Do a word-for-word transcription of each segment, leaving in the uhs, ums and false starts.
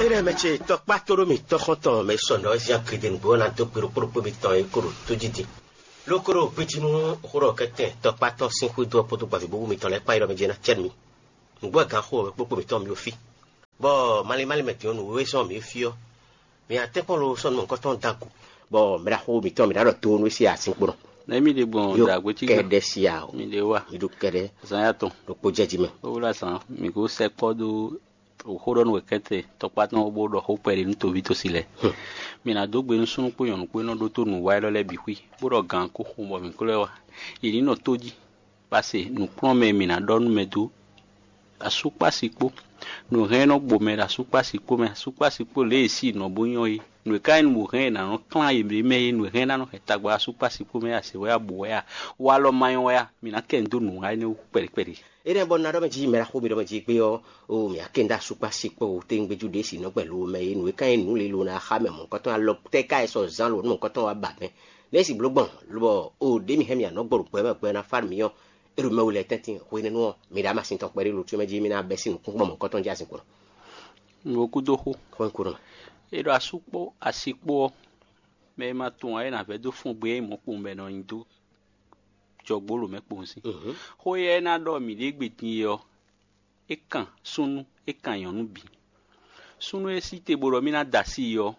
Énɛ́ mɛ ce tɔkpá tó ɖó mì tɔ́xɔ́ntɔn mɛ sɔ nɔ̌ zia gledenǔgbó ɔ́ ná dó gbe ɖokpó ɖokpó mitɔn e kó ɖo tó jí din. Lókó ɖo gbíjí nú xó ɖɔ kɛ́tɛn tɔkpá tɔn sín xwedó ɔ́ kpódó gbavǐbówú mitɔn lɛ́ɛ kpán yi ɖɔ mɛ jɛ ná cɛ́ nú mì. Nǔgbó e gǎn xó wɛ kpókpó mǐtɔn mì ɖo fí, bɔ malín malín mɛ din ɔ́ nǔ wéwé sɔ́ mǐ fí ɔ́, mǐ ná tɛ́nkpɔ́n lo sɔ́ nú mɔ̌hunkɔtɔn dó agu, bɔ mɛ ɖaxó mǐtɔn mǐ ná ɖɔ do nú sí azinkpo nɔ. Nɛ̌ mi ɖe gbɔn? Yo, dǎgbé cí kɛɖɛ́ sí a o. Mi ɖe wa. Mi ɖo kɛɖɛ́ zan ya tɔn. Ɖokpó jɛ jí mɛ. Ó wlá zan, mǐ ko sɛkpɔ́ dó xó ɖɔ nú wɛ kɛ́tɛ tɔkpá tɔn bó ɖɔ xó kpɛɖé nú toví tosi lɛ́ɛ. Mǐ ná dó gbe nú súnnu kpó nyɔ̌nu kpó e nɔ ɖótó nǔ wa élɔ́ lɛ́ɛ bǐ xwí, bó ɖɔ gǎn kó xo bɔ mǐ kó lɛ́ wá. Yě ní nɔ tó jí. Pase nǔkplɔ́nmɛ e mǐ ná ɖɔ nú mɛ dó asúkpási kpó. Nǔ hɛn e nɔ gbo mɛ ɖo asúkpási kpó mɛ, asúkpási kpó lě e sí nɔ bó nyɔ́ é. Nǔ e ka nyí nǔ hɛn e nǎ nɔ klán yě ɖě mɛ é, nǔ e hɛn ná nɔ hɛn tagba asúkpási kpó mɛ a, sě wɛ a, bǔ wɛ a, walɔ ma nyɔ́ wɛ a, mǐ ná kɛ nu dó nǔ wa énɛ́ wú kpɛɖé kpɛɖé. Énɛ́ bɔ un ná ɖɔ mɛ jí mɛ ɖaxó mi ɖɔ mɛ jí gbé ɔ́, o mǐ ná kɛ nu dó asúkpási kpó o téŋgbéjú ɖě si nɔ gbɛ lo mɛ é, nǔ e ka nyí nǔ lilo ná xá mɛ mɔ̌hunkɔtɔn alɔ tɛ́ ka e sɔ zán lo nú mɔ̌hunkɔtɔn wá ba mɛ. Nɛ̌ si bló gbɔn, lobɔ o ɖě mi hɛn mì anɔ̌ gbɔ ɖo gbɛ mɛ gbɛ ná fá nú mi ɔ́, é ɖo mɛ we lɛ́ɛ tɛ́ntin hwenɛ́nu ɔ́, mi ɖo amasin tɔn kpɛɖé ɖo tún mɛ jí mi ná bɛ́ sín nǔkúnkún mɔ̌hunkɔtɔn jí azinkpo nɔ. Nǔ ko dó xó. Xó nyí kúnɔ. É ɖo asú kpó asi kpó ɔ́, mɛ e ma tunwun ǎ é nǎ vɛ́ dó fɔ́n gbe é nyí mɔ̌ kpowun bɔ è nɔ nyi dó jɔgbó lǒ mɛ kpowun sín. Xó éyɛ́ é ná ɖɔ mǐ ɖě gbe din é ɔ́, é kan súnnu, é kan nyɔ̌nu bǐ. Súnnu e sí te bó ɖɔ mì ná da así i ɔ́,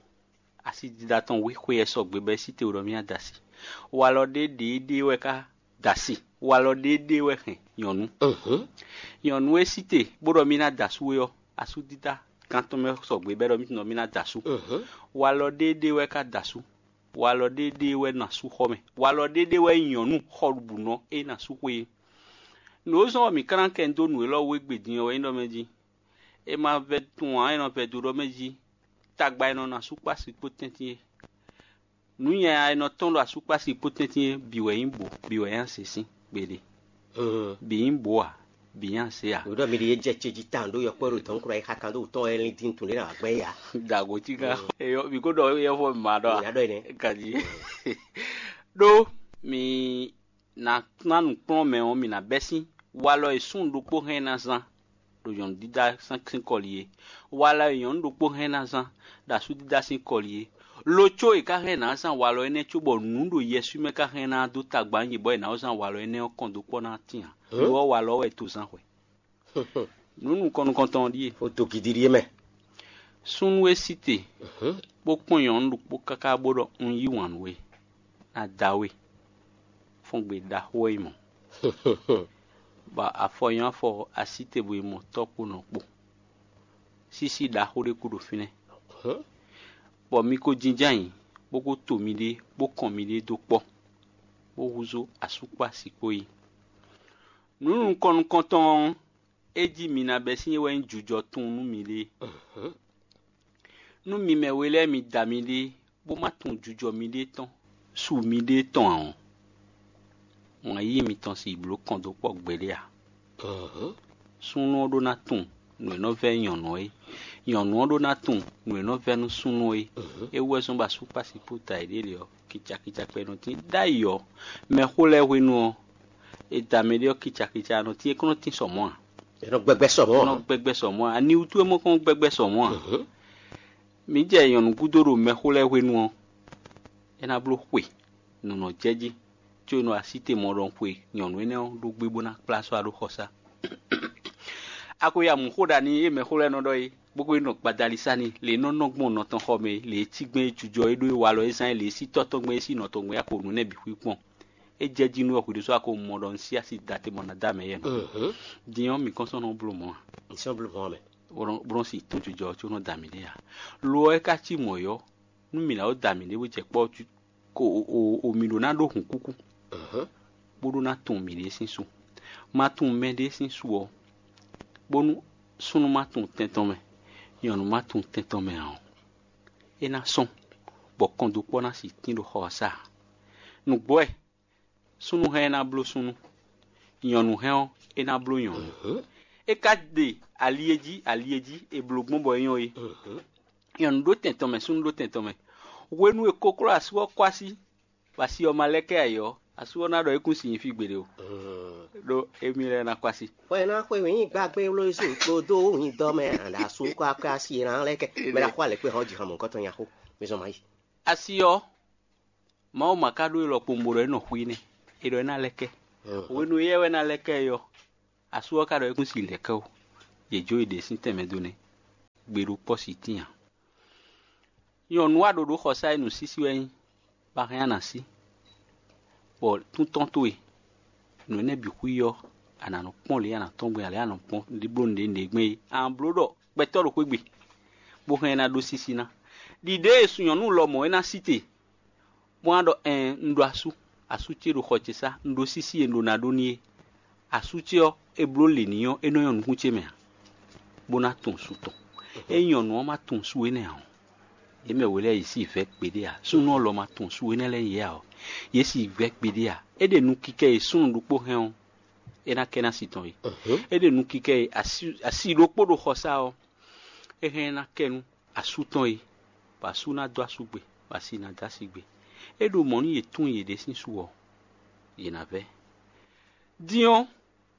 asi dida tɔn wí xwe ɛ sɔgbe bɔ é sí te bó ɖɔ mì ná da así. Walɔ ɖé ɖě ɖé wɛ ka da así. Walɔ ɖé ɖé wɛ hɛn nyɔ̌nu. Nyɔ̌nu e sí te bó ɖɔ mì ná da asú é ɔ́, asú dida gán tɔn mɛ sɔgbe bɔ é ɖɔ mì tɔn mì ná da asú. Walɔ ɖé ɖé wɛ ka da asú. Walɔ ɖé ɖé wɛ nɔ asú xɔ mɛ. Walɔ ɖé ɖé wɛ nyí nyɔ̌nu xɔɖuɖunɔ e nɔ asú xwe é. Nǔ e zɔ́n bɔ mǐ ka ná kɛ nu dó nǔ élɔ́ wú égbé din ɔ́ wɛ nyí ɖɔ mɛ jí. È ma vɛ́ tunwun ǎ, è nɔ vɛ́ dó ɖɔ mɛ jí. Tagba e nɔ nɔ asúkpási kpó tɛ́ntin é. Nǔ nyanya e nɔ tɔ́n ɖo asúkpási kpó tɛ́ntin é bǐ wɛ nyí bǒ, bǐ wɛ nyí azě sín gbeɖé. Bǐ nyí bǒ ǎ, bǐ nyí azě ǎ. Wěɖɔ mi ɖi yé jɛ ce jí tawun ɖó yɔkpɔ́ ɖo dɔ̌nkura yi xa kan ɖó wǔtɔ́n wɛ lín dín tun ɖé ná wǎ gbɛn ya. Dǎgo cí ká. Eyɔ, mǐ kó ɖɔ éyɛ́ fɔ mǐ ma ɖɔ. Mǐ ná ɖɔ énɛ́. Kají. Ɖó mi ná ná nǔkplɔ́nmɛ ɔ́, mǐ ná bɛ́ sín walɔ e súnnu ɖokpó hɛn ná zán ɖo nyɔ̌nu dídá sín kɔli é. Walɔ e nyɔ̌nu ɖokpó hɛn ná zán ɖo asú dídá sín kɔli é. Lo có è ka hɛn ná zán walɔ énɛ́ cóbɔ nǔ ɖo yɛswí mɛ ka hɛn ná dó tagba nyi bɔ è nǎ zán walɔ énɛ́ ɔ́ kɔn dó kpɔ́ ná tín ǎ. Lo ɔ́, walɔ ɔ́ wɛ è to zán hwɛ. Nǔ nukɔn nukɔntɔn ɔ́ ɖíe. Xó dó gidi ɖíe mɛ. Súnnu e sí te, bó kpɔ́n nyɔ̌nu ɖokpó káká bó ɖɔ un yí wǎn nú we, ná da we. Fɔ́n gbe ɖaxó wɛ nyí mɔ̌. Bɔ afɔ nyɔ́ afɔ así te bo yi mɔ tɔ́ kpó nɔ kpó. Sísí ɖaxó ɖé kú ɖo fínɛ́. Bɔ mi ko jínjɔ́n ayǐ, bó ko to miɖée, bó kɔn miɖée dó kpɔ́, bó húzú asú kpó asi kpó yi. Nǔ nukɔn nukɔntɔn ɔ́, é jí mi ná bɛ́ sín é wɛ nyí jujɔ tunwun nú miɖée. Nú mi mɛ we lɛ́ɛ mi da miɖée, bó má tunwun jujɔ miɖée tɔn, su miɖée tɔn ǎ ɔ́, wǎn yíyí mitɔn sixú bló kɔn dó kpɔ́ gbeɖé ǎ. Súnnu ɔ́ ɖó ná tunwun nǔ e nɔ vɛ́ nyɔ̌nu é. Nyɔ̌nu ɔ́ ɖó ná tunwun nǔ e nɔ vɛ́ nú súnnu é. É wú wɛ zɔ́n bɔ asú kpó asi kpó da yěɖée lě ɔ́, kicakica kpɛɖé nɔ tín. Ɖ'ayǐ ɔ́, mɛxó lɛ́ɛ hwenu ɔ́, è da mɛɖé ɔ́ kicakica nɔ tín, é kɔn nɔ tín sɔ mɔ̌ ǎ. È nɔ gbɛgbɛ sɔ mɔ̌ ǎ. È nɔ gbɛgbɛ sɔ mɔ̌ ǎ. Ani wútu é mɔ kɔn gbɛgbɛ sɔ mɔ̌ ǎ. Mǐ jɛ nyɔ̌nu gúdo ɖo mɛxó lɛ́ɛ hwenu ɔ́, é ná bló xwe nǔ nɔ jɛ jí, có è nɔ así te mɔ ɖɔhun xwe nyɔ̌nu énɛ́ ɔ́ ɖó gbé bó ná kplá sɔ́ wá ɖó xɔsá. A ko ya mǔ xó ɖa n'i é mɛxó lɛ́ɛ nɔ ɖɔ é, bó ko yi nɔ gbadali sá n'i, lě e nɔ nɔ gbɔn nɔ tɔn xɔ mɛ é, lě e cí gbɛn é jujɔ é ɖó é walɔ é zán é, lě e sí tɔ́ tɔn gbɛn é sí nɔ tɔn gbɛn é, a ko nǔ nɛ́ bǐ xwí kpɔ́n. É jɛ jí nú wɛ hwǐɖusú a ko mɔ ɖɔ un sí asi da te mɔ ná dó amɛ yɛ nɔ. Din ɔ́, mǐ kɔn sɔ́ nɔ bló mɔ̌ ǎ. Mǐ sɔ́ bló mɔ̌ ǎ mɛ. Bó nɔ si tɔn jujɔ ɔ́ có nɔ da mǐ ɖé ǎ. Lo ɔ́, é ka cí mɔ̌ ɔ́, nú mǐ ná ko da mǐ ɖé bó jɛ kpɔ́ o mi ɖó ná ɖó hǔnkúkú, bó ɖó ná tunwun mǐɖée sín su. Ma tunwun mɛɖée sín su ɔ́, bónú súnnu ma tunwun tɛn tɔn mɛ, nyɔ̌nu ma tunwun tɛn tɔn mɛ ǎ ɔ́, é ná sɔ́n, bɔ kɔndókpɔ́ ná sixú tín ɖo xɔ ɔ́ sá ǎ. Nǔgbó wɛ, súnnu hɛn ɔ́ é ná bló súnnu, nyɔ̌nu hɛn ɔ́ é ná bló nyɔ̌nu. É ka ɖe ali e jí ali e jí è blǒ gbɔn bɔ é nyɔ́ é. Nyɔ̌nu ɖó tɛn tɔn mɛ, súnnu ɖó tɛn tɔn mɛ. Hwenu e kokló asú ɔ́ kɔ́ así, bɔ asi ɔ́ ma lɛ́ kɛ ayǐ ɔ́, Asú ɔ́ ná ɖɔ é kún si nyi fí gbeɖé o, ɖó émí lɛ́ɛ ná kɔ asi. Xwɛ ná xwe wǐ gbàgbé wlóyísú kpódó wǐndɔ mɛ àɖá sú kɔ akɔ asi ná lɛ́ kɛ mɛ ná xɔ alɛ kpé hɔn jǐ hɔn mɔ̌hunkɔtɔn nya xó. Mi zɔn ma yi. Asi ɔ́, Mawu ma ka ɖó élɔ́ kpowun bó ɖɔ é nɔ xwí nɛ́; é ɖɔ é ná lɛ́ kɛ. Hwenu éyɛ́ wɛ é ná lɛ́ kɛ é ɔ́, asú ɔ́ ka ɖɔ é kún si lɛ̌ kɛ ó; yě jó yě ɖě sín tɛnmɛ dó nɛ́, gbe ɖó kpɔ́ si tíin ǎ. Nyɔ̌nu aɖoɖoxɔsá e nǔsísí wɛ é nyí, bɔ a hɛn a nǎ sí, bɔ tún tɔn towe, nǔ énɛ́ bǐ xwí ɔ́, a nǎ nɔ kpɔ́n lě e a nǎ tɔ́n gbɔn é, ǎ lě e a nǎ kpɔ́n ɖi bló nǔɖé nǔɖé gbɔn é, a nǎ bló ɖɔ gbɛtɔ́ ɖokpó gbe, bó hɛn ɛ ná ɖó sísí ná. Ɖiɖée e nyɔ̌nu lɔmɔ̌ é ná sí te, bó ná ɖɔ: Ɛɛn, un ɖó asú; asú ce ɖo xɔ ce sá; un ɖó sísí e un ɖó ná ɖó n'i é. Asú ce ɔ́, è bló lě n'i ɔ́, é nɔ nyɔ́ nukún ce mɛ ǎ, bó ná tunwun su tɔn. Ényí nyɔ̌nu ɔ́ ma tunwun su énɛ́ ǎ ɔ́, yě mɛ we lɛ́ɛ yě si vɛ̌ kpeɖé ǎ. Súnnu ɔ́ lɔ ma tunwun su énɛ́ lɛ́ɛ nyí yě ǎ ɔ́, yě si vɛ̌ kpeɖé ǎ. É ɖe nukikɛ e súnnu ɖokpó hɛn ɔ́, é ná kɛ ná si tɔn é. É ɖe nukikɛ e asi ɖokpó ɖo xɔsá ɔ́, é hɛn ná kɛ nú asú tɔn é, bɔ asú ná dó asú gbe, bɔ asi ná dó asi gbe. É ɖo mɔ̌ nú yě tunwun yěɖée sín su ɔ́, yě ná vɛ́. Din ɔ́,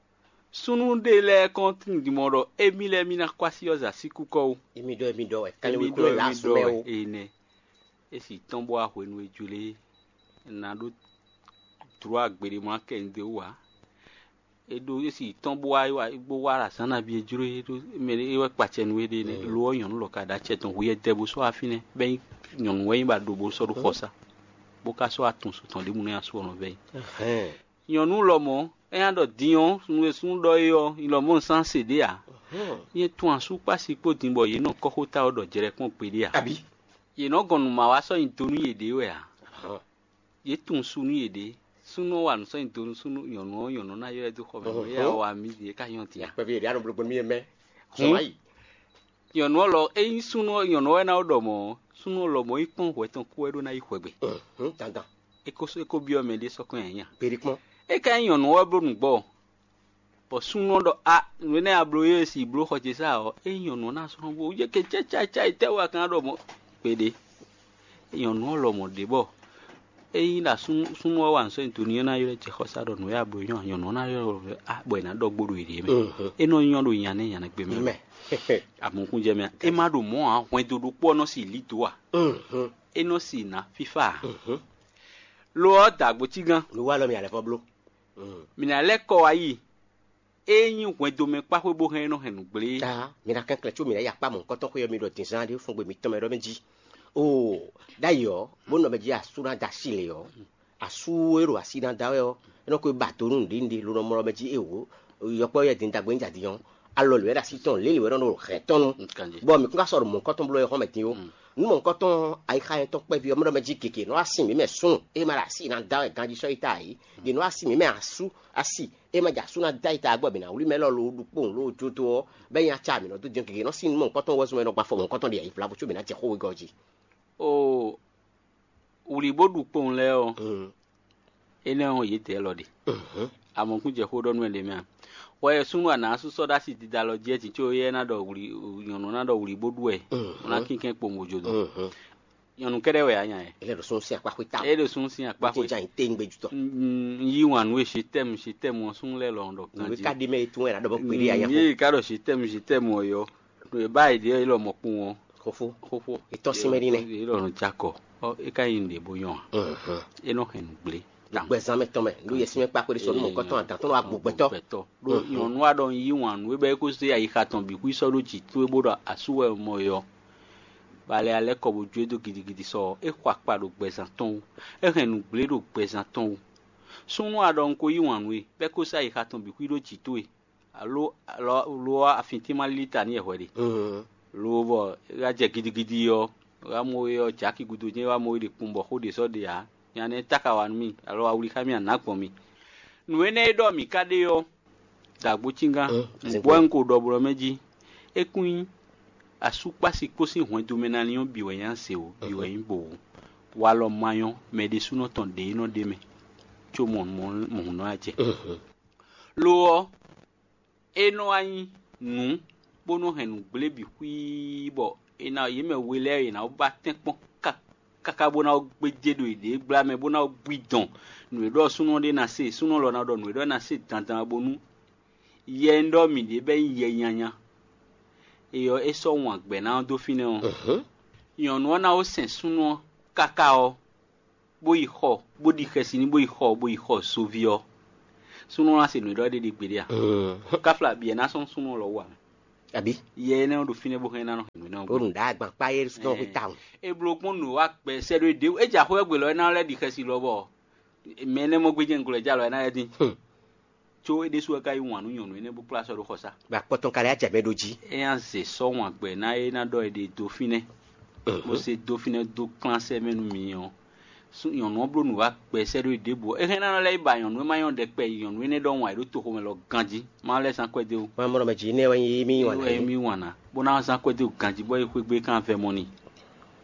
súnnu ɖé lɛ́ɛ kɔn tunwun din mɔ ɖɔ émí lɛ́ɛ mì ná kɔ asi ɔ́ za sí kúkɔ ó. Émí ɖɔ émí ɖɔ wɛ, kálí Émí wékúnɔ ɖɔ lɛ́ émí asú ɖɔ mɛ wɛ ó. Énɛ́. É si tɔ́n bó wá hwenu e jlé ná ɖó dlǒ agbeɖé mɔ akɛ un dó wú ǎ. É ɖó é si tɔ́n bó wá bó wá ɖo azǎn nabí e jló é ɖó mɛ é wɛ kpacɛ nú éɖée nɛ́. Lo ɔ́, nyɔ̌nu lɔ ka ɖo acɛ tɔn hu yɛ dɛ bó sɔ́ wá fínɛ́, bɔ é nyí nyɔ̌nu wɛ é nyí bɔ a ɖo bó sɔ́ ɖó xɔsá, bó ka sɔ́ wá tunwun su tɔn ɖěbǔ nú asú ɔ́ nɔ vɛ́ yi. Nyɔ̌nu lɔmɔ̌, é nya ɖɔ din ɔ́, nǔ e súnnu ɖɔ é ɔ́, nyɛ lɔmɔ̌ un sán se ɖě ǎ. Nyɛ tunwun asú kpó asi kpó din bɔ yě nɔ kɔ́xota ɔ́ ɖɔ jlɛ̌ kpɔ́n gbeɖé ǎ. Abǐ? Yě nɔ gɔn nǔ ma wá sɔ́ nyi do nú yěɖée wɛ ǎ. Yě tunwun su nú yěɖée. Súnnu ɔ́ wa nǔ sɔ́ nyi do nú súnnu nyɔ̌nu ɔ́, nyɔ̌nu ɔ́ ná ylɔ́ ɛ dó xɔ mɛ. Éyɛ́ wá wa mí ɖě ká nyɔ́ din a? Akpɛví yě ɖě a nɔ bló gbɔn nú yɛ mɛ. Sɔ wá yi. Nyɔ̌nu ɔ́ lɔ, ényí súnnu ɔ́, nyɔ̌nu ɔ́ wɛ ná ɖɔ mɔ̌ ɔ́, súnnu ɔ́ lɔmɔ̌ yi kpɔ́n hwɛ tɔn kú wɛ ɖó ná yi xwɛgbe. Dandan. É ko é ko byɔ́ mɛ ɖé sɔ́ kɔn nyi anya. Kpeɖé kpɔ́n. É ka nyí nyɔ̌nu ɔ́ wɛ bló nǔgbɔ. Bɔ súnnu ɔ́ ɖɔ: A, nǔ énɛ́ a bló é si bló xɔ ce sá ɔ́, ényí nyɔ̌nu ɔ́ ná slɔ́n bó yě kɛ cɛ́ cáyicáyi tɛ́ wɛ a ka ná ɖɔ mɔ̌? Kpeɖé. Nyɔ̌nu ɔ́ lɔmɔ̌ ɖě bɔ ényí ɖo súnnu ɔ́ wa nǔ sɔ́ nyi do n'i ɔ́ ná ylɔ́ jɛ xɔsá ɖɔ nǔ e a bló nyɔ́ a, nyɔ̌nu ɔ́ ná ylɔ́ ɖɔ: A, bɔ è nǎ ɖɔ gbó ɖo yěɖée mɛ. É nɔ nyɔ́ ɖo nya nɛ́ nya nɛ́ gbe mɛ. Mɛ. Amɔ̌kúnjɛ mɛ, é má ɖo mɔ̌ ǎ, hwɛndo ɖokpó ɔ́ nɔ si lǐ dǒ ǎ. É nɔ si nǎ fífá ǎ. Lo ɔ́, dǎgbó cígán. Lo wá lɔ mi alɛfɔ bló. Mǐ ná lɛ́ kɔ wá yi. Ényí hwɛndo mɛ kpá xwé bó hɛn é nɔ hɛn nǔgblé. Aa, mi ná kɛnklɛ́n có mi ná yi akpá mɔ̌hunkɔtɔn xwé ɔ́ mi ɖɔ dǐnzán ɖé fún gbe mitɔn mɛ ɖɔ mɛ jí. Oo, ɖ'ayǐ ɔ́, bó nɔ mɛ jí asú ná dó así lě ɔ́, asú e ɖo así ná da wɛ ɔ́, é nɔ ko ba do nú nǔɖé nǔɖé, lo nɔ mɔ ɖɔ mɛ jí éwǒ, yɔkpɔ́ yɛ din dagbe ní jadi ɔ́, alɔ lě wɛ ɖo así tɔn, lě lě wɛ nɔ ɖo hɛn tɔn nu. Bɔ mǐ kún ka sɔ́ ɖo mɔ̌hunkɔtɔn bló wɛ xɔ́n mɛ din ó. Nú mɔ̌hunkɔtɔn ayixa nyɛtɔn kpɛví ɔ́ mɛ ɖɔ mɛ jí gěgé nɔ wá sin mǐ mɛ súnnu, é ma ɖo así ná da wɛ ganjí sɔ́ yi ta ǎ é. Ɖě nɔ wá sin mǐ mɛ asú asi, é ma jɛ asú ná dó ayi ta gbɔ bǐ ná wlí mɛ élɔ́ loo ɖu kpowun loo jó dó ɔ́, bɔ é nyí acá mǐ nɔ dó din gěgé nɔ sín nú mɔ̌hunkɔtɔn wɛ zɔn mɛ nɔ gba afɔ mɔ̌hunkɔtɔn ɖi ayi vla bó có mǐ ná jɛ xó wegɔ́ jí. O, wlǐ bó ɖu kpowun lɛ́ɛ ɔ́, énɛ́ ɔ́ yědɛɛ lɔ ɖe. Amɔ̌kún jɛ xó ɖɔ nú ɛ ɖě mɛ a? Hwɛ e súnnu anǎ sú sɔ́ ɖó asi dida lɔ jí ɛ jǐ có éyɛ́ ná ɖɔ wlǐ nyɔ̌nu ná ɖɔ wlǐ bó ɖu wɛ, bó ná kínkɛ́n kpowun bó jó dɔn. Nyɔ̌nu kɛ́ɖɛ́ wɛ ǎ nya ɛ. Ele ɖo sún sín akpá xwé ta. E ɖo sún sín akpá xwé. Jɛ anyi téŋ gbé jutɔ. Un yí wǎn nú e je t'aime, je t'aime ɔ́ sún lɛ́ lɔ ɖɔ ganjí. Nǔ ka ɖi mɛ e tún wɛ ná ɖɔ bɔ kpeɖé ya nya xo. Yé ka ɖɔ je t'aime, je t'aime ɔ́ yɔ. Ɖo e ba yi ɖe e lɔ mɔ kpun ɔ́. Xofo. Xofo. Etɔ́ sín mɛ ɖi nɛ. E lɔ nɔ jakɔ. Ɔ e ka yi nɖe bo nyɔ a. E nɔ hɛn nǔgblé. Gbɛzán mɛ tɔn mɛ, nú yɛ sín mɛ kpá xwé ɖé sɔ nú mɔ̌kɔtɔn adǎn tɔn nɔ wá gbo gbɛtɔ́. Ɖó nyɔ̌nu wa ɖɔ un yí wǎn nú é bɔ é ko zé ayixa tɔn bǐ xwí sɔ́ ɖó jǐ towe bó ɖɔ asú wɛ mɔ yɔ. Ba lɛ alɛ́ kɔ bó jó e dó gidigidi sɔ ɔ́, é xɔ akpa ɖo gbɛzán tɔn wú, é hɛn nǔgblé ɖo gbɛzán tɔn wú. Súnnu a ɖɔ un ko yí wǎn nú we, bɔ é ko sɔ́ ayixa tɔn bǐ xwí ɖó jǐ towe, alo lo ɔ́, afin tín ma lílí ta n'i wɛ hwɛ ɖe. Lo bɔ é wá jɛ gidigidi ɔ́, é wá mɔ we ɔ́, jǎki gúdo jɛ́n é wá mɔ we ɖe kpowun bɔ xó ɖě sɔ́ ɖe ǎ. Nya nɛ́ táka wa nú mì, alo a wlí xá mì a nǎ gbɔn mì. Nǔ énɛ́ e ɖɔ mǐ ka ɖe ɔ́, dǎgbó cíngán, un gbɔ wɛ un ko ɖɔ blɔ́ mɛ jí. É kún nyí asúkpási kpó sín hwɛndo mɛ ná lín ɔ́ bǐ wɛ nyí ase o, bǐ wɛ nyí bo o. Walɔ ma nyɔ́, mɛ ɖésúnɔ tɔn ɖě e nɔ ɖ'é mɛ, có mɔ mɔ̌hunnɔ a jɛ. Lo ɔ́, é nɔ wá nyí nǔ, bó nɔ́ hɛn nǔgblé bǐ xwíí, bɔ è nǎ yě mɛ we lɛ́ɛ è nǎ ba tɛ́nkpɔ́n ká. káká bó ná gbéjé ɖo yěɖée gbla mɛ bó ná bú i dɔn. Nǔ e ɖɔ súnnu ɔ́ ɖe ná se, súnnu lɔ ná ɖɔ nǔ e ɖɔ ná se dandan bónú yɛ e ɖɔ mǐ ɖe bɛ́ nyí yɛ nyanya. É ɔ́, é sɔ́ wǎn gbɛ́ ná ɔ́ dó fínɛ́ ɔ́, nyɔ̌nu ɔ́ ná ó sɛn súnnu ɔ́ káká ɔ́, bó yi xɔ, bó ɖi xɛsi n'i, bó yi xɔ, bó yi xɔ zoví ɔ́, súnnu ɔ́ ná se nǔ e ɖɔ é ɖe ɖi gbeɖé a? Káfla bǐ ɛ ná sɔ́ súnnu ɔ́ lɔ wú ǎ mɛ. Abǐ? Yɛ énɛ́ ɔ́ ɖo fínɛ́ bó hɛn ná nɔ hɛn nǔ énɛ́ ɔ́. Ó nǔ ɖá agbankpá é sɔ́ xwé tawun. É bló gbɔn nǔ wa gbɛ sɛ́ ɖó é ɖě é jɛ axɔ́ ɔ́ gbe lɔ é ná lɛ́ ɖi xɛsi lɔ bɔ mɛ énɛ́ mɔ gbéjɛ nuglo ɛ jɛ alɔ é ná lɛ́ dín. Có é ɖésú wɛ ka yí wǎn nú nyɔ̌nu énɛ́ bó kplá sɔ́ ɖó xɔ sá. Bɔ akpɔtɔn ka lɛ́ jɛ mɛ ɖó jí. É nya zě sɔ́ wǎn gbɛ ná é ná ɖɔ è ɖe dó fínɛ́, bó se dó fínɛ́ dó kplán sɛ́ mɛ nú mi ɔ́, nyɔ̌nu ɔ́ bló nǔ wá gbɛ sɛ́ ɖó ɖěbǔ ɔ́, é hɛn ná nɔ lɛ́ yi ba nyɔ̌nu e ma nyɔ́ ɖɛkpɛ yi nyɔ̌nu énɛ́ ɖɔhun ǎ é ɖó toxo mɛ lɔ ganjí, má lɛ́ zán kwɛ́ dé wú. Má mɔ ɖɔ mɛ jǐ nɛ́ wɛ nyí mì wǎn ná é mì wǎn ná, bó ná zán kwɛ́ dé wú ganjí bɔ é xwé gbe kán vɛ mɔ n'i.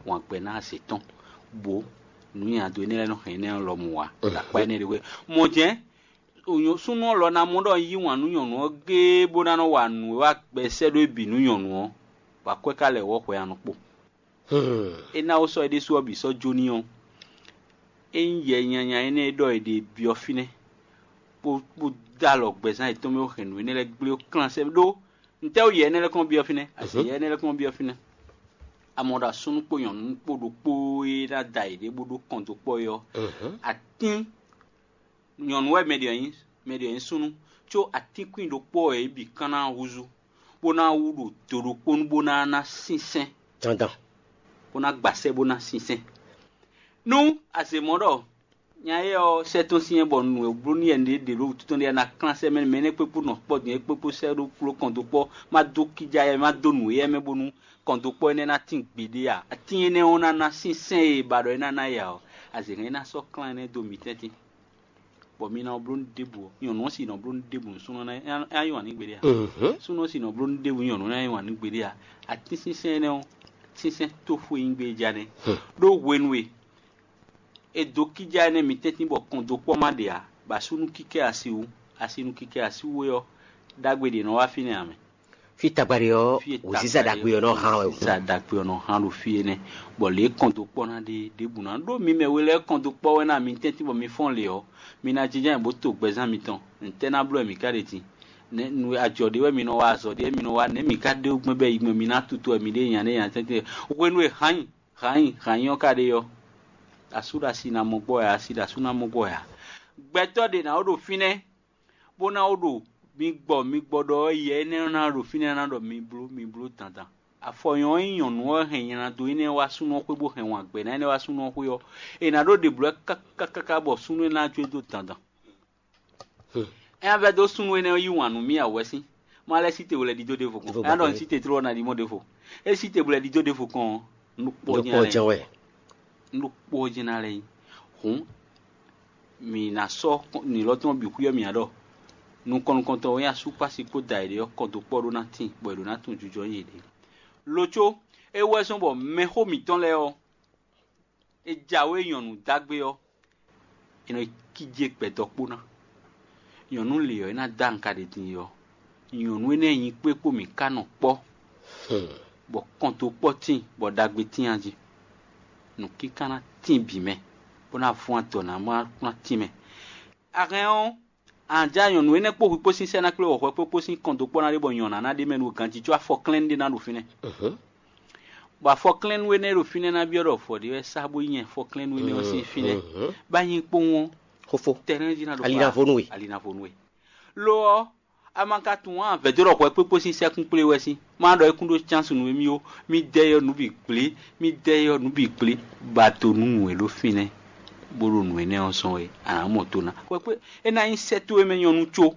Wǎn gbɛ ná azě tɔn, bó nǔ nyi ado énɛ́ lɛ́ɛ nɔ hɛn énɛ́ lɔ mɔ ǎ, akpá énɛ́ ɖé hwɛ. Mɔ̌ jɛ́n súnnu ɔ́ lɔ ná mɔ ɖɔ un yí wǎn nú nyɔ̌nu ɔ́ géé bó ná nɔ wa nǔ e wá gbɛ sɛ́ ɖó é bǐ nú nyɔ̌nu ɔ́, bɔ akwɛ́ ka lɛ wɔ̌ hwɛ a nɔ kpo. É ná ó sɔ́ é ɖésú ɔ́ bǐ sɔ́ jó n'i ɔ́, é nyí yɛ nyanya énɛ́ e ɖɔ è ɖe byɔ́ fínɛ́, bó bó dó alɔ gbɛzán yětɔn mɛ bó hɛn nǔ énɛ́ lɛ́ɛ gblé bó klán sɛ́ ɖó ntɛ́ wú yɛ énɛ́ lɛ́ɛ kɔn byɔ́ fínɛ́? Asi yɛ énɛ́ lɛ́ɛ kɔn byɔ́ fínɛ́. A mɔ ɖɔ asúnú kpó nyɔ̌nu kpó ɖokpó e ná da yěɖée bó ɖó kɔn dó kpɔ́ é ɔ́, atín nyɔ̌nu wɛ mɛ ɖě ɔ́ nyí, mɛ ɖě ɔ́ nyí súnnu, có atínkwín ɖokpó ɔ́ yě bǐ kan ná húzú, bó ná wú ɖo do ɖokpó nu bó ná ná sínsɛ́n, dandan, bó ná gbasɛ bó ná sínsɛ́n. Nú a se mɔ̌ ɖɔ nya éyɛ́ ɔ́ sɛ́ tɔ́n syɛ́n bɔ nǔ e bló n'i wɛ ɖě ɖě ɖo wútu tɔn ɖé ná klán sɛ́ mɛ, mɛ énɛ́ kpékpó nɔ kpɔ́ din é kpékpó sɛ́ ɖó kplɔ́ kɔn dó kpɔ́, má dó kíjá yɛ má dó nǔ éyɛ́ mɛ bónú kɔn dó kpɔ́ énɛ́ ná tín gbeɖé a? Atín énɛ́ ɔ́ ná ná sínsɛ́n e è ba ɖɔ é ná ná e ǎ ɔ́, azě hɛn é ná sɔ́ klán énɛ́ dó mǐ tɛ́ntin. Bɔ mi ná bló nú ɖěbǔ ɔ́, nyɔ̌nu ɔ́ sì nɔ bló nú ɖěbǔ nú súnnu ɔ́ ná yí wǎn nú gbeɖé a? Súnnu ɔ́ sì nɔ bló nú ɖěbǔ nyɔ̌nu ná yí wǎn nú gbeɖé a? Atínsínsɛ́n énɛ́ ɔ́, sínsɛ́n tóxwé nyí gbé é ja nɛ́. Ɖó hwenu e è dǒ kíjá énɛ́ mi tɛ́ntin bɔ kɔn dó kpɔ́ má ɖe ǎ, bɔ asúnú kíkɛ́ asi wú, asi nú kíkɛ́ asi wú é ɔ́, ɖagbe ɖě nɔ wá fínɛ́ ǎ mɛ. Fí tagba ɖé ɔ́, wěziza ɖagbe ɔ́ nɔ hán wɛ. Wěziza ɖagbe ɔ́ nɔ hán ɖo fí énɛ́, bɔ lě e kɔn dó kpɔ́ ná ɖe ɖěbǔ ná ɖó mi mɛ we lɛ́ɛ kɔn dó kpɔ́ wɛ ná mi tɛ́ntin bɔ mi fɔ́n lě ɔ́, mi ná jínjɔ́n ayǐ bó to gbɛzán mitɔn. Ntɛ́ ná bló wɛ mǐ ká ɖe din? Nɛ̌ nu ajɔ ɖé wɛ mi nɔ wa, azɔ̌ ɖé wɛ mi nɔ wa, nɛ̌ mǐ ká ɖe gbɛn bɔ yi gbɔn mi ná tutu wɛ mi ɖe nya ɖé nya tɛ́ntin? Hwenu e hǎnyi hǎnyi hǎnyi ɔ́ ka ɖe ɔ́, asú ɖo asi ná mɔ gbɔ wɛ ǎ, asi ɖo asú ná mɔ gbɔ wɛ ǎ. Gbɛtɔ́ ɖě ná wó ɖo fínɛ́, bó ná wó ɖo mi gbɔ mi gbɔ ɖɔ ɔ́, yɛ énɛ́ ɔ́ ná ɖo fínɛ́ ná ɖɔ mi bló mi bló dandan. Afɔ nyɔ̌ ɔ́ nyí nyɔ̌nu ɔ́ hɛn nylado énɛ́ wá súnnu ɔ́ xwé bó hɛn wǎn gbɛ ná énɛ́ wá súnnu ɔ́ xwé ɔ́, è nǎ ɖó ɖě bló ɛ káká káká bɔ súnnu énɛ́ ná jó e dó dandan. É ná vɛ́ dó súnnu énɛ́ ɔ́ yí wǎn nú mì ǎ wɛ sín, má lɛ́ sí te wlɛ́ ɖidó ɖěvo kɔn. É ná ɖɔ un sí te tló ɔ́ ná ɖi mɔ̌ ɖěvo. É sí te wlɛ́ ɖidó ɖěvo kɔn ɔ́, un ɖo kpɔ́ jɛ́n lɛ́ɛ. Un ɖo kpɔ́ jɛ́n ná lɛ́ nyí. Hǔn mǐ ná sɔ́ nǐlɔ́ tɔn bǐ xwíyɔ́ mǐ ǎ ɖɔ nukɔn nukɔntɔn e nyí asúkpási kpó da yěɖée ɔ́ kɔn dó kpɔ́ ɖó ná tíin, bɔ è ɖǒ ná tunwun jijɔ nyi yěɖée. Lo có, é wú wɛ zɔ́n bɔ mɛxó mǐtɔn lɛ́ɛ ɔ́, è jǎwe nyɔ̌nu dǎgbe ɔ́, è nɔ yi kíjé gbɛdɔkpó ná. Nyɔ̌nu lě ɔ́, é ná dó aŋka ɖě din é ɔ́, nyɔ̌nu énɛ́ e nyi kpé kpó mǐ ka nɔ kpɔ́, bɔ kɔn dó kpɔ́ tíin, bɔ ɖagbe tíin a jí. Nǔkíká ná tíin bǐ mɛ, bó ná vɔ́n adɔ ná má ná tíin mɛ. A hɛn ɔ́, a nǎ ja nyɔ̌nu énɛ́ kpó hwi kpó sín sɛ́ ná kplé wɔ̌xɔ́ kpó kpó sín kɔn dó kpɔ́ ná ɖé bɔ nyɔ̌ná ná ɖ'é mɛ nú ganjí có afɔklɛ́nú ɖé ná ɖo fínɛ́. Bɔ afɔklɛ́nú énɛ́ e ɖo fínɛ́ ná byɔ́ ɖɔ vɔ̌ ɖé wɛ sá bó nyí afɔklɛ́nú énɛ́ ɔ́ sín fínɛ́. Bá nyí kpowun ɔ́, xófó, tɛnɛ́ jí ná ɖo alinavo nú we. Alinavo nú we. Lo ɔ́, a ma ka tunwun ǎ, vɛ̌ dó ɖɔ hwɛ kpékpó sín sɛ́kún kplé wɛ sín. Má ɖɔ é kún ɖó cánsunu émí ó, mí dɛ yɔ nǔ bǐ gblé, mí dɛ yɔ nǔ bǐ gblé, ba do nú nǔ e ɖo fínɛ́, bó ɖo nǔ énɛ́ ɔ́ zɔ́n é, a nǎ mɔ to ná. Hwɛ kpé é ná nyí sɛ́ towe mɛ nyɔ́nu có.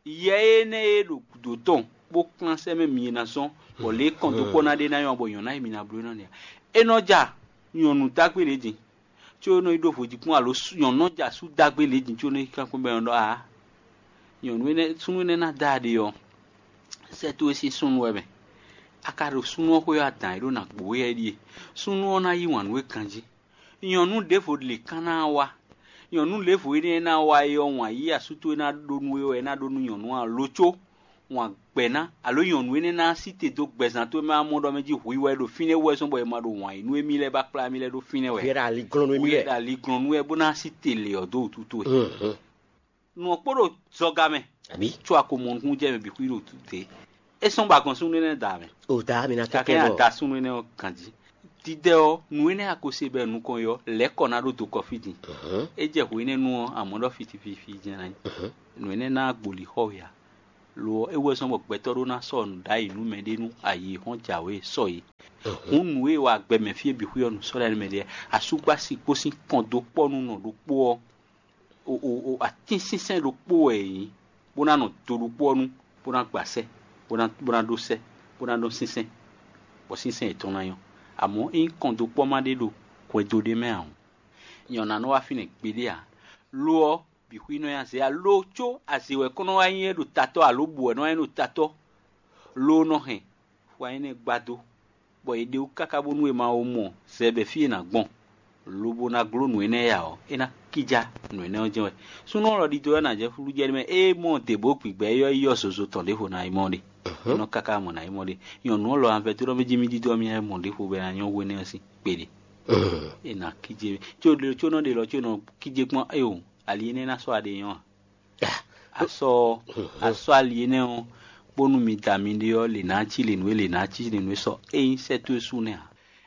Yɛ énɛ́ e ɖo gǔdo tɔn bó kplán sɛ́ mɛ mi e ná zɔ́n, bɔ lě e kɔn dó kpɔ́ ná ɖe ná nyɔ́ bɔ nyɔ̌ná e mi ná bló ná nɛ́ ǎ. É nɔ ja nyɔ̌nu dagbe lě din, có é nɔ yi ɖó vodíkpɔ́n alo nyɔ̌nu nɔ ja sú dagbe lě din có é nɔ yi kankwɛ́ bɔ é nɔ ɖɔ aa, nyɔ̌nu énɛ́ súnnu énɛ́ ná da ɖe ɔ́, sɛ́ towe sín súnnu wɛ mɛ. A ka ɖo súnnu ɔ́ xwé ɔ́, adǎn e ɖó ná gbǒ wɛ é ɖíe: súnnu ɔ́ ná yí wǎn nú we ganjí. Nyɔ̌nu ɖěvo lě kán ná wá. Nyɔ̌nu lěvo énɛ́ e ná wá é ɔ́, wǎn yí asú towe ná ɖó nú we wɛ é ná ɖó nú nyɔ̌nu ǎ lo có wǎn gbɛ̌ ná, alo nyɔ̌nu énɛ́ ná sí te dó gbɛzán towe mɛ amɔ ɖɔ mɛ jí hwi wɛ ɖo fínɛ́ wú wɛ zɔ́n bɔ è ma ɖo wǎn yí nú émí lɛ́ɛ bó akplá émí lɛ́ɛ ɖó fínɛ́ wɛ. Vǐ ɖo aliglɔn nú émí Hwi lɛ́ɛ. Ɖo aliglɔn nú wɛ bó ná sí te lě ɔ́ dó wǔtu towe. Mhm. Nǔ ɔ́ kpo ɖo zɔga mɛ, Àbí? Có a ko mɔ nukúnnú jɛ mɛ bǐ xwí ɖo wǔtu te. É sɔ́n bɔ a gɔn súnnu énɛ́ da mɛ. O da mi ná Gake kɛkɛ a bɔ. Da súnnu énɛ́ ɔ́ ganjí. Dídɛ ɔ́, nǔ énɛ́ a ko se bɔ nukɔn ɔ́, lɛ̌ kɔ ná ɖó do kɔ fí din. Mhm. É jɛ hwě énɛ́ nu ɔ́, amɔ̌ ɖɔ fitififi jɛ́n ná nyí. Mhm. Nǔ énɛ́ ná gboli xɔ we ǎ. Lo ɔ́, é wɛ zɔ́n bɔ gbɛtɔ́ ɖó ná sɔ́ nǔ ɖ'ayǐ nú mɛɖé nú ayǐ hɔn jǎwe sɔ é. Mhm. Hǔn nǔ e wa gbɛ mɛ fí e bǐ xwí ɔ́ nǔ sɔ́ lɛ́ɛ nú mɛɖé lɛ́ɛ. Asúgbási kpó sín kɔn dó kpɔ́ nú nɔ ɖokpó ɔ́, o o o atínsínsɛ́n ɖokpó wɛ è nyǐ, bó ná nɔ do ɖokpó ɔ́ nu, bó ná gba sɛ́, bó ná bó ná ɖó sɛ́, bó ná ɖó sínsɛ́n, bɔ sínsɛ́n yětɔn ná nyɔ́. Amɔ̌, ényí kɔn dó kpɔ́ ma ɖé ɖo hwɛndo ɖé mɛ ǎ hǔn, nyɛ ɔ́ ná nɔ wá fínɛ́ gbeɖé ǎ. Lo ɔ́, bǐ xwí nɔ nyi azě ǎ. Lo có azě wɛ kɔn nɔ wá nyí é ɖo tatɔ́ alo bǔ wɛ nɔ wá nyí ɖo tatɔ́, lo nɔ hɛn xwa énɛ́ gbadó, bɔ è ɖe wú káká bónú è ma wo mɔ zɛ bɔ fí è nǎ gbɔn, lobo ná gló nǔ énɛ́ ya ɔ́, é ná kíjá nǔ énɛ́ ɔ́ jɛ́n wɛ. Súnnu ɔ́ lɔ ɖidó ɔ́ ná jɛ flú jɛ mɛ, ée mɔ dě bó gbǐgbɛ́ é ɔ́ yi ɔ́ zozo tɔn ɖěvo ná yi mɔ ɖe. É nɔ káká mɔ ná yi mɔ ɖe. Nyɔ̌nu ɔ́ lɔ anvɛ tó ɖɔ mɛ jí mì ɖidó ɔ́ mì ná yi mɔ ɖěvo bɔ é ná nyɔ́ hwe énɛ́ ɔ́ sín kpeɖe. É ná kíjé có ɖe có nɔ ɖe lɔ có nɔ kíjé kpɔ́n éo ali énɛ́ ná sɔ́ aɖe nyɔ́ a? Asɔ asɔ ali énɛ́ ɔ́, bónú mi da miɖée ɔ́, lě ná cí lě nú é, lě ná cí lě nú é sɔ é nyí sɛ́ towe sú nɛ́ ǎ.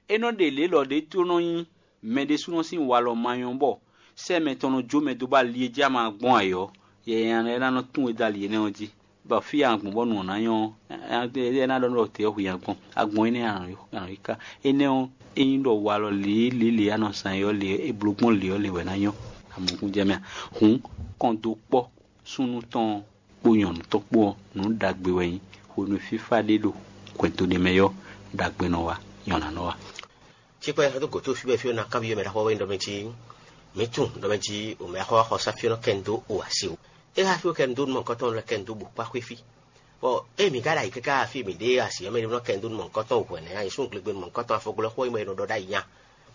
É nɔ ɖe lě lɔ ɖé tló nɔ nyí mɛ ɖésúnɔ sín walɔ ma nyɔ́ bɔ sɛ́ mɛtɔn nɔ jó mɛ dó bɔ ali e jí ama gbɔn ayǐ ɔ́, yɛ nya lɛ́ɛ ná nɔ tún we dó ali énɛ́ ɔ́ jí, bɔ fí e a gbɔn bɔ nǔ ɔ́ ná nyɔ́ ɔ́, é ná ɖɔ nú ɖɔ tě ɔ́ hu nya gbɔn. A gbɔn énɛ́ a nǎ yi ká. Énɛ́ ɔ́, é nyí ɖɔ walɔ lě e lě e a nɔ zán é ɔ́ lě e è bló gbɔn lě ɔ́ lě wɛ ná nyɔ́. Amɔkúnjɛ mɛ a? Hǔn kɔn dó kpɔ́ súnnu tɔn ɔ́ kpó nyɔ̌nu tɔn kpó ɔ́, nǔ ɖagbe wɛ nyí. Hwenu e fífá ɖé ɖo hwɛndo ɖé mɛ ɔ́, ɖagbe nɔ wa, nyɔ̌ná nɔ wa. Cikpɛ xɛtó gǒtó fí bɔ fí ná kanbyɔ́ mɛ ɖaxó wɛ ɖɔ mɛ jí mǐ tunwun ɖɔ mɛ jí o mɛ ɖaxó wá xɔ sá fí ɔ́ nɔ kɛ nu dó o asi o. É xá fí ó kɛ nu dó nú mɔ̌hunkɔtɔn lɛ́ɛ kɛ nu dó bǔ kpá xwé fí. Bɔ ée mǐ ka ɖo ayǐ káká fí mǐ ɖe asi ɔ́ mɛ ɖé nɔ kɛ nu dó nú mɔ̌hunkɔtɔn hwɛ̌ nɛ́, ayǐsúngbe nú mɔ̌hunkɔtɔn afɔgblɔ xó nyí bɔ è nɔ ɖɔ ɖ'ayǐ nya.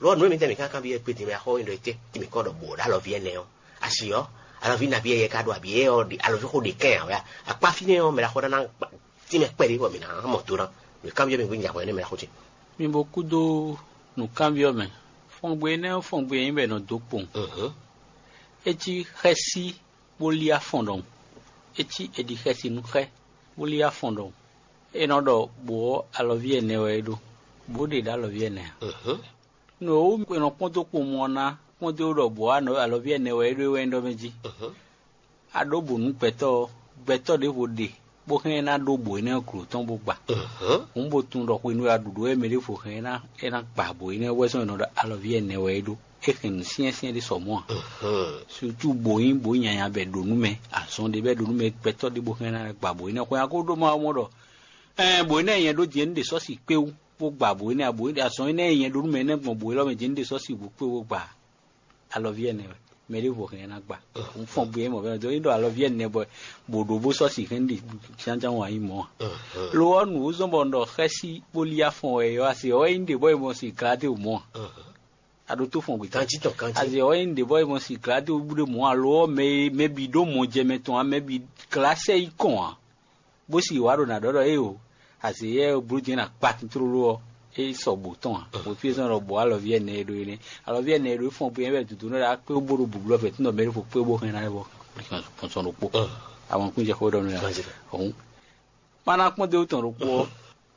Lɔ nǔ e mǐtɛn mǐ ka kanbyɔ́ gbé din mɛ axɔ́ nyi ɖɔ étɛ́ tí mǐ kɔ ɖɔ bǔ ɖo alɔví ɛnɛ ɔ́, asi ɔ́, alɔví nabí yɛ ka ɖo abǐ é ɔ́ ɖi alɔví xó ɖe kɛn ǎ wɛ a? Akpá fínɛ́ ɔ́ mɛ ɖaxó ɖá ná tínmɛ kpɛɖé bɔ mǐ ná mɔ do ná. Mǐ kanbyɔ́ mì gbé nya hwɛ nɛ́ mɛ ɖaxó ce. Mi bo kúdó nǔkanbyɔ́ mɛ. Fɔngbe énɛ́ ɔ́, fɔngbe e nyí bɔ è nɔ dó kpowun. Mhm. É cí xɛ́sí bó lí afɔn ɖɔhun. É cí è ɖi xɛsi nú xɛ, bó lí afɔn ɖɔhun. É nɔ ɖɔ bǒ ɔ́, alɔví ɛnɛ wɛ é ɖó, bó ɖe ɖo alɔví ɛnɛ ǎ. Mhm. Nǔ e wú è nɔ kpɔ́n dó kpowun ɔ́ ná kpɔ́n dó ɖɔ bǒ ɔ́, alɔví ɛnɛ wɛ é ɖó é wɛ nyí ɖɔ mɛ jí. Mhm. A ɖǒ bǔ nú gbɛtɔ́ ɔ́, gbɛtɔ́ ɖěvo ɖe bó hɛn ná ɖó bǒ énɛ́ glo tɔn bó gba. Mhm. Hǔn bo tunwun ɖɔ hwenu e a ɖu ɖǒ wɛ mɛ ɖěvo hɛn ná é ná gba bǒ énɛ́ wɛ zɔ́n è nɔ ɖɔ alɔví ɛnɛ wɛ é ɖó. É hɛn nǔ syɛ́nsyɛ́n ɖé sɔ mɔ̌ ǎ. Mhm. Sutu bǒ nyí bǒ nyanya bɔ è ɖǒ nú mɛ, azɔn ɖé bɔ è ɖǒ nú mɛ, gbɛtɔ́ ɖé bó hɛn ná gba bǒ énɛ́. Hwɛ nya ko ɖó ma ɔ́ mɔ ɖɔ ɛɛ bǒ énɛ́ nyɛ ɖó din é ní ɖe sɔ́si kpé wú bó gba bǒ énɛ́ ǎ, bǒ énɛ́ azɔn énɛ́ nyɛ ɖó nú mɛ énɛ́ gbɔn bǒ élɔ́ mɛ din é ní ɖe sɔ́si bó kpé bó gba. Alɔví ɛnɛ wɛ mɛ ɖěvo hɛn ná gba. Un fɔn gbe mɔ bɛ do ní ɖɔ alɔví ɛnɛ bɔ bò ɖo bó sɔ́si hɛn ɖi jánján wǎn yi mɔ̌ a? Lo ɔ́ nǔ zɔ́n bɔ un ɖɔ xɛ́sí bó lí afɔn wɛ yɔ asi ɔ́ é nyí ɖě bɔ é mɔ si glá dé o mɔ̌ a? A ɖo tó fɔn gbe Kanji tɔn kanji. Asi ɔ́ é nyí ɖě bɔ é mɔ si glá dé o bú ɖé mɔ̌ a? Lo ɔ́ mɛ e mɛ bǐ ɖó mɔ jɛ mɛ tɔn a mɛ bǐ glá sɛ yi kɔn a? Bó sì wá ɖo nǎ ɖɔ ɖɔ éeǒ, azě yɛ e bló din ná kpa tlóló ɔ́, é sɔ bǒ tɔn ǎ. Bó fí é sɔ́ nɔ bǒ alɔví ɛnɛ e ɖó énɛ́. Alɔví ɛnɛ e ɖó é fɔn bó nyɛ wɛ dǔdú nɔ ɖo akpé bó ɖo bǔblɔ́ fɛ́ tún nɔ mɛ ɖé fo kpé bó hɛn ná bɔ sɔn ɖokpó. Àwọn kún jɛ xó ɖɔ nú ya. Ọ̀hún. Má ná kpɔ́n dó tɔn ɖokpó ɔ́,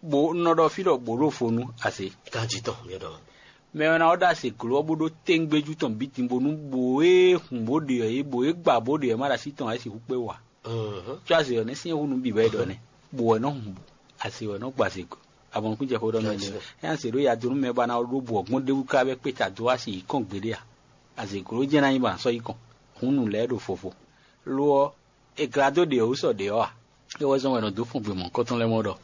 bó nɔ ɖɔ fí ɖɔ bǒ ɖo fo nú azě. Kanji tɔn mi ɖɔ. Mɛ ɔ́ ná ɔ́ ɖo azě gló ɔ́ bó ɖó téńgbéjú tɔn bǐ din bónú bǒ e hun bó ɖe ɔ́ é bǒ e gba bó ɖe ɔ́ má ɖo así tɔn ǎ é sixú kpé wǎ. Có azě ɔ́ nɛ́ syɛ́n hú nǔ bǐ bɔ é ɖɔ nɛ́. Bǔ wɛ nɔ́ hun bǔ. Azě wɛ nɔ́ gba azě gɔ́. Abɔnukún jɛ xó ɖɔ mɛ lɛ. Ényí azě ɖó ya dó nú mɛ bɔ a ná ɖó bǔ ɔ́ gbɔn ɖ'é wú ká bɔ é kpé ta dó wá si yi kɔn gbeɖé a? Azě gló jɛ́n ná nyí bɔ a nǎ sɔ́ yi kɔn. Hǔn nǔ lɛ́ɛ ɖo vovo. Lo ɔ́, è glá dó ɖe ɔ́ wú sɔ ɖě ɔ́ a? É wɛ zɔ́n wɛ è nɔ dó fɔn gbe mɔ̌hunkɔtɔn lɛ́ɛ mɔ ɖɔ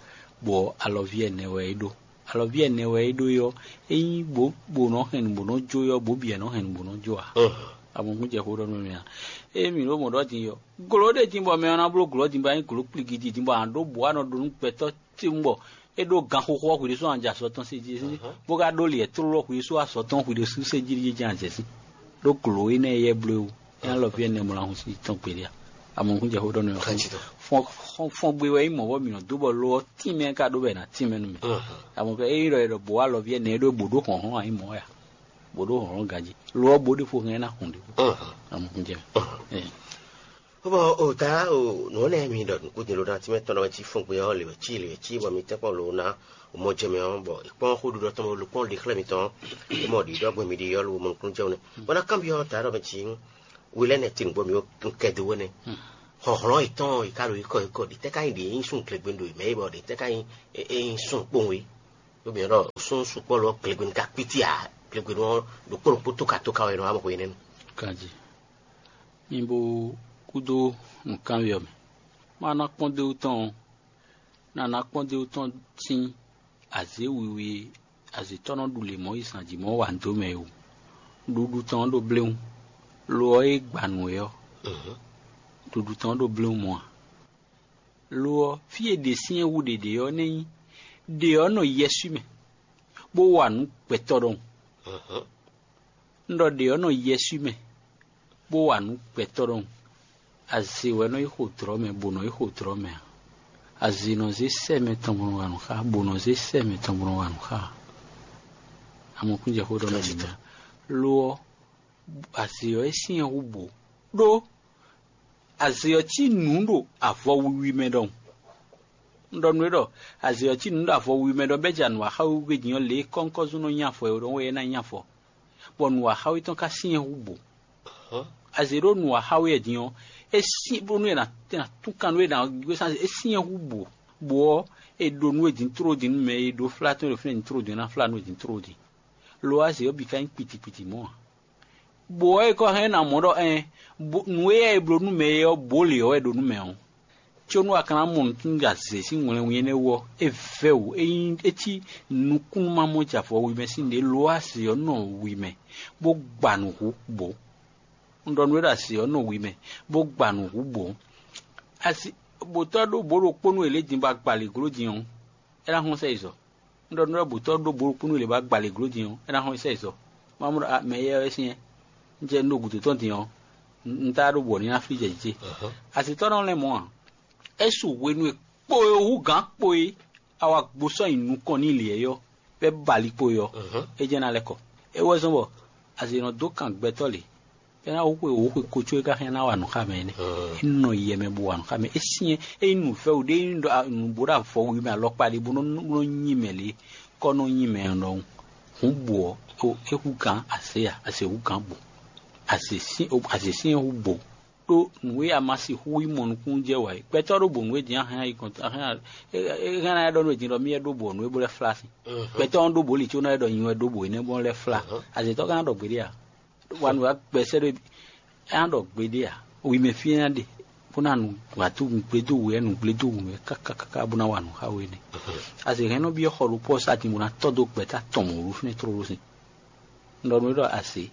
bɔ alɔví ɛnɛ wɛ é ɖó. Alɔví ɛnɛ wɛ é ɖó é ɔ́, é nyí bǒ bǒ nɔ hɛn nǔ bó nɔ jó é ɔ́, bǒ bǐ wɛ nɔ hɛn nǔ bó nɔ jó ǎ. Abɔnukún jɛ xó ɖɔ nú mì a? Ée mǐ ɖo mɔ̌ ɖɔ din ɔ́, glǒ ɖé din bɔ mɛ ɔ́ ná bló glɔ̌ din bɔ a nyí glǒ kpligidi din bɔ a nǎ ɖó bǔ a nɔ ɖó nú gbɛtɔ́ tewun bɔ é ɖó ganxoxo ɔ́ hwǐɖésú a nɔ jɛ azɔ̌ tɔn sé jí bó ka ɖó lǐɛ tlóló hwǐɖésú azɔ̌ tɔn hwǐɖésú sé jí jɛ́n azɛ̌ sín. Ɖó glǒ énɛ́ e yɛ bló é wú, é ná lɔ fí ɛnɛ mɔ ná hun sí tɔn gbeɖé a? Amɔ̌kún jɛ xó ɖɔ nú mì. Fɔ́ngbé wɛ nyí mɔ̌ bɔ mǐ nɔ dó bɔ lo ɔ́ tínmɛ ka ɖó bɔ è nǎ tínmɛ nú mì. Amɔ̌ fɛ ényí ɖɔ è ɖɔ bǒ alɔví ɛnɛ é ɖó bǒ ɖó hlɔ̌nhlɔ́n ǎ nyí mɔ̌ wɛ a? Bǒ ɖó hlɔ̌nhlɔ́n ganjí. Lo ɔ́ bǒ ɖěvo hɛn ná hun ɖěvo. Amɔ̌ jɛ. Bɔ o ta o nǔ ɔ́ nɛ́ mi ɖɔ nǔkúndin ló ná tínmɛ tɔn ɔ́ wɛ cí fɔ́ngbé ɔ́ lě wɛ cí lě wɛ cí bɔ mi tɛ́nkpɔ́n ló ná mɔ jɛ mɛ ɔ́ bɔ è kpɔ́n xó ɖiɖɔ tɔn bɔ lo kpɔ́n ɖi xlɛ́ mitɔn é mɔ ɖiɖɔ gbɔn mi ɖi ɔ́ lo mɔ nukúnnú jɛ nɛ́. Bɔ ná kanbyɔ́ ta ɖɔ mɛ cí wi lɛ́ nɛ́ tin nǔgbó mi ó kɛdó wɛ nɛ́. Xɔxlɔ́n yětɔn yi ká ɖo yi kɔ yi kɔ ɖi tɛ́ ká nyí ɖě nyí sún glegbenu ɖo mɛ yi bɔ ɖě tɛ́ ká nyí é nyí sún kpowun é. Ɖó mi ɖɔ sún sukpɔ́ lɔ glegbenu ka kpítí ǎ. Glegbenu ɔ́ ɖokpó ɖokpó tóka tóka wɛ nɔ wá bɔ xwe nɛ́ nu. Kanjí mi bo kúdó nǔkanví ɔ́ mɛ. Má ná kpɔ́n dó tɔn ɔ́, ná ná kpɔ́n dó tɔn sín azě wiwi e azǐtɔ́ nɔ ɖu lě mɔ̌ yi zǎn jí mɔ̌ wa nǔ dó mɛ é o. Ɖuɖu tɔn ɔ́ ɖo bléwún, lo ɔ́ e gba nǔ é ɔ́, ɖuɖu tɔn ɔ́ ɖo bléwún mɔ̌ ǎ. Lo ɔ́, fí e ɖě syɛ́n hú ɖě ɖe ɔ́ nɛ́ nyí ɖě ɔ́ nɔ yɛswí mɛ, bó wa nǔ gbɛtɔ́ ɖɔhun. Un ɖɔ ɖě ɔ́ nɔ yɛswí mɛ, bó wa nǔ gbɛtɔ́ ɖɔhun. Azě wɛ nɔ yi xo dlɔ̌ mɛ, bó nɔ yi xo dlɔ̌ mɛ ǎ. Azě nɔ zé sɛ́ mɛ tɔn bó nɔ wa nǔ xá, bó nɔ zé sɛ́ mɛ tɔn bó nɔ wa nǔ xá ǎ. Amɔkúnjɛ xó ɖɔ mɛ ɖi mɛ. Lo ɔ́, azě ɔ́ é syɛ́n hú bǒ, ɖó azě ɔ́ cí nǔ ɖo avɔ wiwi mɛ ɖɔhun. Un ɖɔ nú we ɖɔ azě ɔ́ cí nǔ ɖo avɔ wiwi mɛ ɖɔ bɛ́ ja nǔ wa xá we wúgbe din ɔ́, lě e kɔ́nkɔ́zún nɔ nyi afɔ é ɖɔhun wɛ é ná nyi afɔ, bɔ nǔ wa xá we tɔn ka syɛ́n hú bǒ. Azě ɖó nǔ wa xá we din ɔ́, é syɛ́n bónú è nǎ tún kan nú é ná gbé sán é syɛ́n hú bǒ. Bǒ ɔ́, è ɖo nú we din tló din nú mɛ e ɖó flá tɔn e ɖo fínɛ́ din tló din é ná flá nú we din tló din. Lo ɔ́, azě ɔ́ bǐ ka nyí kpitikpiti mɔ̌ ǎ. Bǒ ɔ́, è kɔ hɛn ná mɔ ɖɔ ɛn nǔ e yɛ è bló nú mɛ é ɔ́, bǒ lě ɔ́ wɛ ɖo nú mɛ ɔ́. Có nú a ka ná mɔ nǔtúnú ɖo azě sín wlɛnwín énɛ́ wú ɔ́, é vɛ́ wǔ é nyí é cí nukúnnú ma mɔ jɛ avɔ wi mɛ sín ɖě lo azě ɔ́ nɔ wi mɛ, bó gba nǔ hú bǒ. Un ɖɔ nú we ɖɔ azě ɔ́ nɔ wi mɛ, bó gba nǔ hú bǒ. Asi bǒtɔ́ ɖó bǒ ɖokpó nú è lě din bɔ a gba lě gló din ɔ́, é ná hɔn sɛ yi zɔ. Un ɖɔ nú we ɖɔ bǒtɔ́ ɖó bǒ ɖokpó nú è lě bɔ a gba lě gló din ɔ́, é ná hɔn sɛ yi zɔ. Má mɔ ɖɔ mɛ éyɛ́ wɛ syɛ́n. Un jɛ un ɖo gǔdo tɔn din ɔ́, un ta ɖo bɔ ní ná flí jɛ jǐ ce. Asitɔ́ nɔ lɛ́ mɔ̌ ǎ. É su hwenu e kpo e hú gǎn kpo e a wá gbosɔ́ nyi nukɔn n'i lě ɔ́, bɔ é ba ali kpo e ɔ́, é jɛ́n ná lɛ́ kɔ. É wɛ zɔ́n bɔ azě nɔ dó kan gbɛtɔ́ lě, é ná xwe wǒ xwe ko có é ka hɛn ná wa nǔ xá mɛ énɛ́. É nɔ yɛ mɛ bó wa nǔ xá mɛ. É syɛ́n é nyí nǔvɛ́wǔ ɖé é nyí ɖɔ nǔ bó ɖo avɔ wi mɛ alɔkpa ɖé bó nɔ nɔ nyi mɛ lě, kɔ nɔ nyi mɛ ɖɔhun. Hǔn bǔ ɔ́, é hú gǎn azě a, azě hú gǎn bǔ. Azě syɛ́n hú bǒ. Ɖó nǔ e a ma sixú yi mɔ nukúnnú jɛ wǎ é. Gbɛtɔ́ ɖó bǒ nǔ e din a hɛn ayi kɔn a hɛn a é hɛn ná ɖɔ nú e din ɖɔ mí wɛ ɖó bǒ nǔ e bó lɛ́ flá sín. Gbɛtɔ́ ɔ́ ɖó bǒ li có ná ɖɔ nyi wɛ ɖó bǒ énɛ́ bó lɛ́ flá. Azětɔ́ ka ná ɖɔ gbeɖé a? Wa nǔ wa gbɛ sɛ́ ɖó é ná ɖɔ gbeɖé a? Wi mɛ fí é ná ɖe bó ná nu wǎtú nǔgblédó wǔ wɛ nǔgblédó wǔ wɛ káká káká bó ná wa nǔ xá we nɛ́. Azě hɛn nɔ byɔ́ xɔ ɖokpó ɔ́ sá din bó ná tɔ́ dó gbɛ̌ta tɔn mɔ̌ ɖó fínɛ́ tlóló sín. Un ɖɔ nú we ɖɔ azě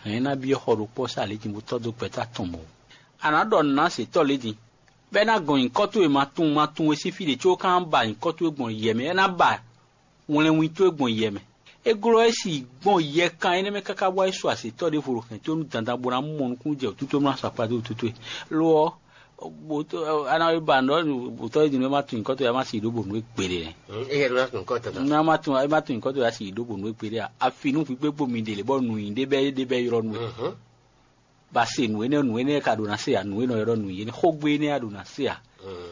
hɛn ná byɔ́ xɔ ɖokpó ɔ́ sá lě din bó tɔ́ dó gbɛ̌ta tɔn mɔ̌. A nǎ ɖɔ nǔ ná zětɔ́ lě din, bɔ é ná gɔn nyǐkɔ towe ma tunwun ma tunwun é sín fí ɖě có é ka ná ba nyǐkɔ towe gbɔn yɛ mɛ, é ná ba wlɛnwin towe gbɔn yɛ mɛ. É glɔ́ é si gbɔn yɛkan énɛ́ mɛ káká bɔ é su azětɔ́ ɖěvo ɖo hɛn towe nú dandan bó ná mɔ nukúnnú jɛ wǔtútú bó ná sɔ́ akpa dó wǔtútú e. Lo ɔ́, bǒtɔ́ a ná ba nǔ ɖɔ bǒtɔ́ é din nú é má tunwun nyǐkɔ towe é má si ɖó bǒ nú é gbeɖé nɛ́. Éyɛ́ ɖó ná tunwun kɔ́ tata. Ná má tunwun é má tunwun nyǐkɔ towe á si ɖó bǒ nú é gbeɖé a? Afi nú hwi gbégbó mi ɖe lě bɔ nǔnyi ɖé bɛ́ ɖé bɛ́ ylɔ́ nú we. Ba se nǔ énɛ́ nǔ énɛ́ ka ɖo ná se ǎ, nǔ e nɔ ylɔ́ nǔ yě xógbe énɛ́ a ɖo ná se ǎ.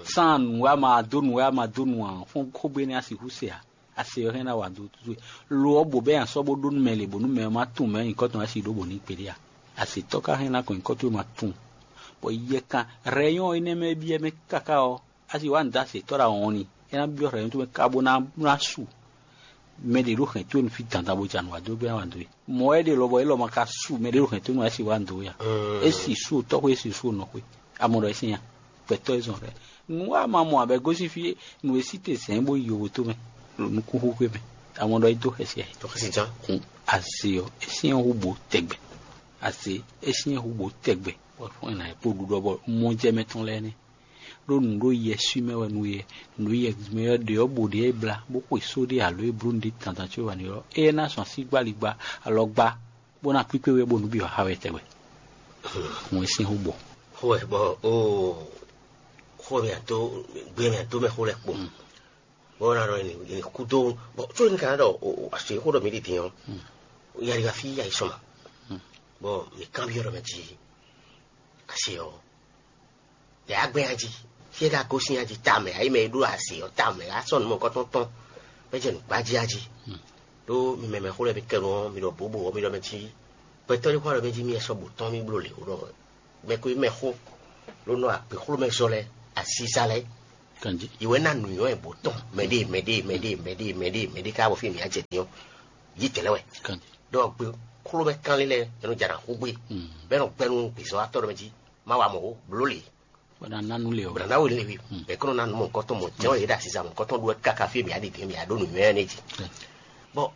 Sán nǔ a ma dó nǔ a ma dó nǔ ǎ, fɔ́n xógbe énɛ́ a sixú se ǎ. A se ɔ́ hɛn ná wa dó tútú. Lo ɔ́ bǒ bɛ́ nyi asɔ́ bó ɖó nú mɛ lě bónú mɛ ɔ́ má tunwun mɛ nyǐkɔ tɔn wá si ɖó bǒ ní gbeɖé ǎ. Azětɔ́ ka hɛn ná kɔn nyǐkɔ towe ma tunwun. Bɔ yɛkan rɛyɔn énɛ́ mɛ e byɔ́ mɛ káká ɔ́, a si wá nǔ dó azětɔ́ ɖo awɔn ni, é ná byɔ́ rɛyɔn towe mɛ ká bó ná ná su. Mɛ ɖě ɖo hɛn towe nú fí dandan bó ja nǔ wá dó gbé wá dó e. Mɔ̌ wɛ ɖe lɔbɔ élɔ́ ma ka su mɛ ɖě ɖo hɛn towe nú wá é si wá dó e a? É si su tɔ́xwé é si su nɔxwé. Amɔ ɖɔ é sín ya. Gbɛtɔ́ é zɔn rɛ. Nǔ wa ma mɔ abɛ gosín fí nǔ e sí te zɛ̌n bó yi yovo tó mɛ. Nukúnxúxwé mɛ. Amɔ ɖɔ é dó xɛsi ayɛ. Tɔxɛsi jan. Kun azé ɔ é sín hu bó tɛgbɛ. Azé é sín hu bó tɛgbɛ. Bɔ fún ɛ nà é kpó ɖuɖɔ bɔ mɔjɛmɛ tɔn lɛ́ɛ nɛ́. Ɖó nǔ ɖo yɛswí mɛ wɛ nú yɛ. Nǔ ɖo yɛswí mɛ wɛ ɖe ɔ́ bǒ ɖe é blá bó xwe só ɖé alo é bló nǔɖé dandan có wɛ nú ɔ́, éyɛ́ ná zɔn así gbá ligba alɔ gbá, bó ná kpíkpé wɛ bónú bǐ wá xa wɛ tɛgbɛ. Hǔn é sín hú bɔ. Xó wɛ bɔ oo. Xó mɛ dó gbé mɛ dó mɛ xó lɛ kpo. Bɔ na ɖɔ ni kúdó bɔ tó ní kana ɖɔ asi xó ɖɔ mi ɖi dín ɔ. Yari afi ayi sɔma. Bɔ mi kan bi ɔ ɖɔ mɛ ji asi ɔ. Yɛ agbɛn aji. Fie ka gosin aji tamɛ ayi mɛ ɖo asi ɔ tamɛ asɔ nu mɔ kɔtɔn tɔn. Bɛ jɛ nu gbaji aji. Ɖó mi mɛ mɛ xó lɛ mi kɛnu ɔ mi ɖɔ bobo ɔ mi ɖɔ mɛ ji. Gbɛtɔ ɖé xó ɖɔ mɛ ji mi ɛsɔ bo tɔn mi blo le o ɖɔ mɛ ko mɛ xó. Ló nɔ akpé xló mɛ zɔ lɛ asiza lɛ. Kanji. Iwɛ na nuyɔ ɛ bó tɔn mɛɖe mɛɖe mɛɖe mɛɖe mɛɖe mɛɖe ká bɔ fi mi ajɛ diɔ. Yi tɛlɛ wɛ. Kanji. Ɖɔ gbe xló mɛ kanlin lɛ ɛnu jara xó gbe. Bɛ nɔ gbɛnu gbezɔ atɔ ɖɔ mɛ ji ma wa mɔ o blo le. Bana nanu le o. Bana na wo le wi. Bɛ kɔnɔ na nu mɔ kɔtɔn mɔ jɛn yɛ da sisan mɔ kɔtɔn ɖo kaka fi mi adi diɔ mi ado nuyɔ ɛ ne ji. Bɔ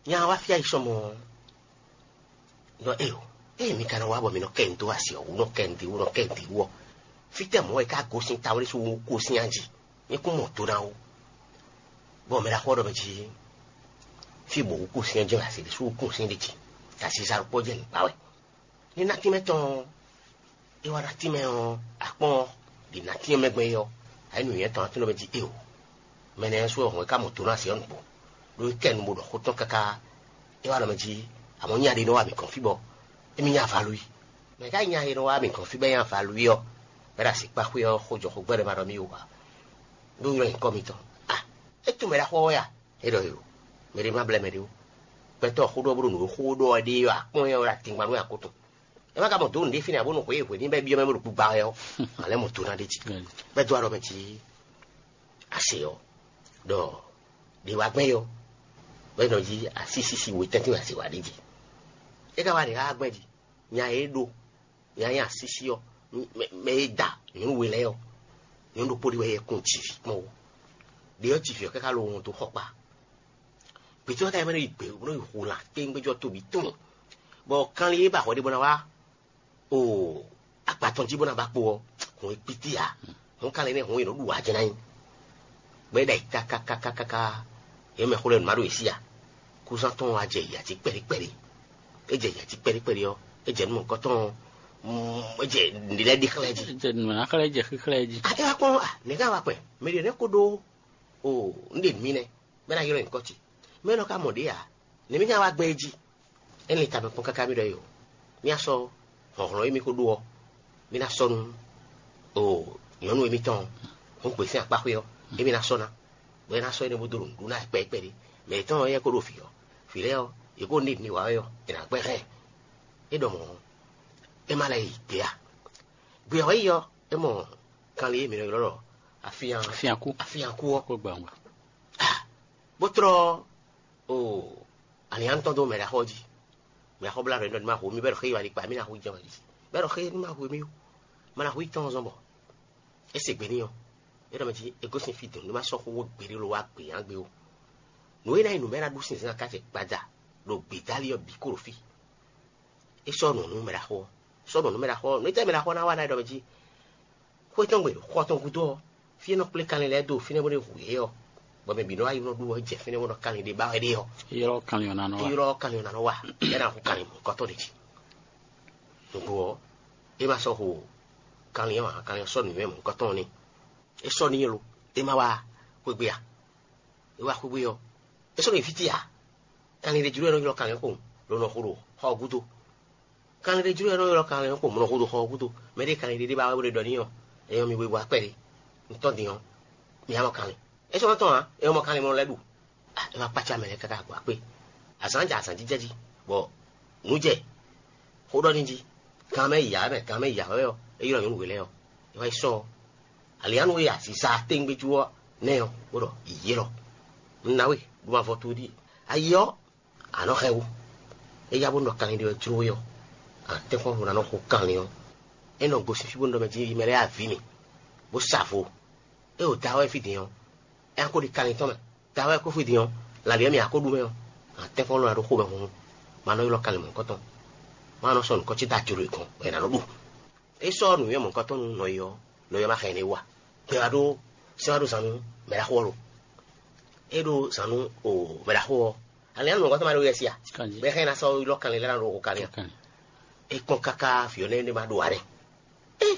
nya wa fia yi sɔmɔ. Nɔ e o, eye mi ka nɔ wá bɔ mi nɔ kɛ nǔ dó asi ɔ́, wú nɔ kɛ nǔ dí wú nɔ kɛ nǔ dí wú ɔ́, fítɛ́ mɔ̌ è ká gosín tawlé sú wú kó sín ají? Mi kún mɔ do ná wú. Bɔ mɛ ɖaxó ɔ́ ɖɔ mɛ jí fí bɔ wú kó sín ají asi ɖé sú wú kún sín ɖé jí, ta sisa ɖokpó jɛ nǔgbá wɛ. Ní ná tínmɛ tɔn ɔ́, é wá ná tínmɛ ɔ́, akpɔ́n ɔ́, ɖi ná tínmɛ mɛ gbɛn é ɔ́, ayé nǔnywɛ́ tɔn ná tínmɛ mɛ jí é o. Mɛ nɛ́ sú ɔ́ hɔn é ká mɔ do ná asi ɔ́ nǔgbó, ɖó é kɛ nu bó ɖɔ xó tɔn káká. É wá ɖɔ mɛ jí, amɔ̌ nya ɖé nɔ wá mǐ kɔn fí bɔ émí nya valú i. Mɛ ká nya e nɔ wá mǐ kɔn fí bɔ é nya valú i ɔ́, bɔ é ɖo asi kpá xwé ɔ́, xó jɔ xó gbɛ́ ɖɔ ma ɖɔ mì o ǎ. Ɖó ylɔ́ nyǐkɔ mitɔn. A, é tunwun mɛ ɖaxó ɔ́ wɛ a? É ɖɔ yo, mɛ ɖé ma blɛ́ mɛ ɖé ó. Gbɛtɔ́ xó ɖɔ bó ɖo nǔ e xó ɖɔ ɛ ɖe ɔ́, akpɔ́n nyɛ wɛ ɖo atingban nú akó tɔn. É ma ka mɔ dǒ nǔɖé fínɛ́ ǎ bónú xwě e hwě ní bɛ́ byɔ́ mɛ bó ɖo gbigba wɛ ɔ́, a lɛ́ mɔ do ná ɖ'é jí. Bɛ́ dó aɖɔ mɛ jí ase ɔ́, ɖɔ ɖě wá gbɛn yɔ, bɛ́ nɔ jí asísísí we tɛ́ntin wɛ ase wá ɖ'é jí. É ka wá ɖě xá gbɛn jí, nya e é ɖó, nya nyí asísí ɔ́, mɛ e da nyɔ̌nu we lɛ́ɛ ɔ́, nyɔ̌nu ɖokpó ɖé wɛ yɛ kún jǐví kpɔ́n ó. Ɖě ɔ́ jǐví ɔ́ káká lo wɔn dó xɔkpa. Gbětɔ́ ká yi mɛ nɔ yi gbě bó nɔ yi hu lan kpéŋgbéjɔ tóbí tɔn, bɔ kanlin e ba hwɛ ɖé bó ná wá o agba tɔn jí bó ná ba kpo ɔ́, hɔn e kpítí ǎ. Hɔn kanlin nɛ́ hɔn e nɔ ɖu wǎ jɛ ná nyi. Bɔ é ɖa yi kákákákáká, yě mɛ xó lɛ́ɛ nǔ má ɖo yě sí a. Kúzán tɔn wá jɛ yǎ jí kpɛɖí kpɛɖí. É jɛ yǎ jí kpɛɖí kpɛɖí ɔ́, é jɛ nú mɔ̌kɔtɔn ɔ́, é jɛ nǔ lɛ́ɛ ɖi xlɛ́ jí. Jɛ nǔ ná xlɛ́ jɛ xíxlɛ́ jí. A é wá kpɔ́n a nɛ̌ ká wá kpɛn mɛ ɖě nɛ́ kó ɖó o un ɖe nǔ mì nɛ́, bɔ é ná ylɔ́ nyǐkɔ ce. Mɛ élɔ́ ka mɔ ɖě ǎ, nɛ̌ mì ná wá gbɛn é jí? É lin tamɛ kpɔ́n káká mì ɖɔ é o. Mì ná sɔ́ hlɔ̌nhlɔ́n e mì ko ɖó ɔ́, mì ná sɔ́ nú o nyɔ̌nu émítɔn ɔ́, hɔn gbe sín akpáxwé ɔ́, émí ná sɔ́ ná, bɔ é ná sɔ́ énɛ́ bó dó ɖo nǔɖuɖu ná kpɛ́kpɛ́ ɖé. Mɛ yětɔn ɔ́, éyɛ́ ko ɖo vǐ ɔ́, vǐ lɛ́ɛ ɔ́, yě ko ní nǔ wa wɛ ɔ́, è nǎ gbɛ́ hɛn. É ɖɔ mɔ̌, é má lɛ́ yi gbě a? Gbě ɔ́ yi ɔ́, é mɔ kanlin e mǐ nɔ ylɔ́ ɖɔ afían Afíankú. Afíankú ɔ́, Kó gbɛ́ wungbe. Bó tlɔ́ o aliǎn tɔn dó mɛ ɖaxó jí. Mɛ xɔ blá ɖɔ ní ma hu mi bɛ ɖɔ xé yi wali kpa mi na hu jɛ wali. Bɛ ɖɔ xé ní ma hu mi o. Ma na hu yi tɔn zɔn bɔ é se gbe ní ɔ. É ɖɔ mɛ jí é gosín fí dɔn ní ma sɔ́ xó wó gbeɖé lo wá gbě yán gbé o. Nǔ e ná yi nǔ mɛ ná ɖu sin zán kácɛ gbada ɖo gbědálí ɔ́ bǐ kó ɖo fí. É sɔ́ nǔ nú mɛ ɖaxó ɔ́. Sɔ́ nǔ nú mɛ ɖaxó ɔ́. Nǔ e tɛ́ mɛ ɖaxó ɔ́ ná wa ná é ɖɔ mɛ jí xwé tɔn gbe xɔ tɔn gúdo ɔ́, fí e nɔ kplé kanlin lɛ́ɛ dó fínɛ́ bó nɔ́ hu yě ɔ́, bɔ mɛ bǐ nɔ wá yi nɔ ɖu ɔ́ jɛ fínɛ́ bó nɔ kanlin ɖé ba wɛ ɖe ɔ́, Ylɔ́ kanlin ɔ́ ná nɔ wá. Ylɔ́ kanlin ɔ́ ná nɔ wá, bɔ é ná hu kanlin mɔ̌hunkɔtɔn ɖé jí. Nǔgbó ɔ́, é ma sɔ́ hu kanlin ɔ́ ǎ, kanlin ɔ́ sɔ́ nǔnywɛ́ mɔ̌hunkɔtɔn ɔ́ n'i. É sɔ́ n'i lo, é ma wá xwé gbe a? É wá xwé gbe ɔ́, é sɔ́ n'i fí ce ǎ. Kanlin ɖé jló wɛ nɔ ylɔ́ kanlin ɔ́ kpowun, lo nɔ xo ɖo xɔ ɔ́ gúdo. Kanlin ɖé jló wɛ nɔ ylɔ́ kanlin ɔ́ kpowun, bó nɔ xo ɖo xɔ ɔ́ gúdo. Mɛ ɖé kanlin ɖé ɖé ba wɛ bó ɖe ɖɔ n'i ɔ́, é nyɔ́ mi wegbo akpɛ́ɖé. Un tɔ́n din ɔ́, mi ná mɔ kanlin. É sɔ́ nɔ tɔn ǎ, é nɔ mɔ kanlin mɔ lɛ́ɛ ɖu. A, é wá kpácá mɛ lɛ́ɛ káká gbɔ akpé. Azǎn jɛ azǎn jijɛ jí, bɔ nǔ jɛ xó ɖɔ n'i jí. Kan mɛ yi ǎ mɛ, kan mɛ yi ǎ wɛ ɔ́, é ylɔ́ nyɔ̌nu we lɛ́ɛ ɔ́, é wá yi sɔ́ ɔ́. Alianu e aziza tɛ́ngbéjú ɔ́ nɛ́ ɔ́, bó ɖɔ: Yǐyí élɔ́, un ná we, ɖó ma vɔ towe ɖíe. Ayi ɔ́, a nɔ xɛ wú. É yá bó nɔ kanlin ɖé ɔ́ jló we ɔ́, a tɛ́nkpɔ́n vo ná nɔ xo kanlin ɔ́. É nɔ gosín fí bó nɔ ɖɔ mɛ jí yi mɛ lɛ́ɛ avǐ mì, bó sa vo. É ɖo da wɛ fí din ɔ́, é ná ko ɖi kanlin tɔn mɛ. Da wɛ kó fí din ɔ́, lǎlí ɔ́ mì a ko ɖu mɛ ɔ́, a tɛ́nkpɔ́n lɔ ná ɖó xomɛ hunhun. Ma nɔ ylɔ́ kanlin mɔ̌hunkɔtɔn. Ma nɔ sɔ́ nǔkɔ ce dó ajo ɖo è gɔ́n, bɔ è nǎ nɔ ɖu. É sɔ́ nǔnywɛ́ mɔ̌hunkɔtɔn nú nɔyɔ ɔ́, nɔyɔ ma xɛ nyɛ wú a? Gbɛ wá ɖó sɛ́n wá ɖó zan nú mɛɖaxó ɔ́ lo? É ɖó zan nú o mɛɖaxó ɔ́. Alɛ nú mɔ̌hunkɔtɔn ma ɖó yɛ sí a? Bɛ xɛ ná sɔ́ ylɔ́ kanlin lɛ́ɛ ná ɖo xo kanlin a? É kpɔ́n káká vǐ ɔ́ nɛ́ ɖé ma ɖo ǎ nɛ́. É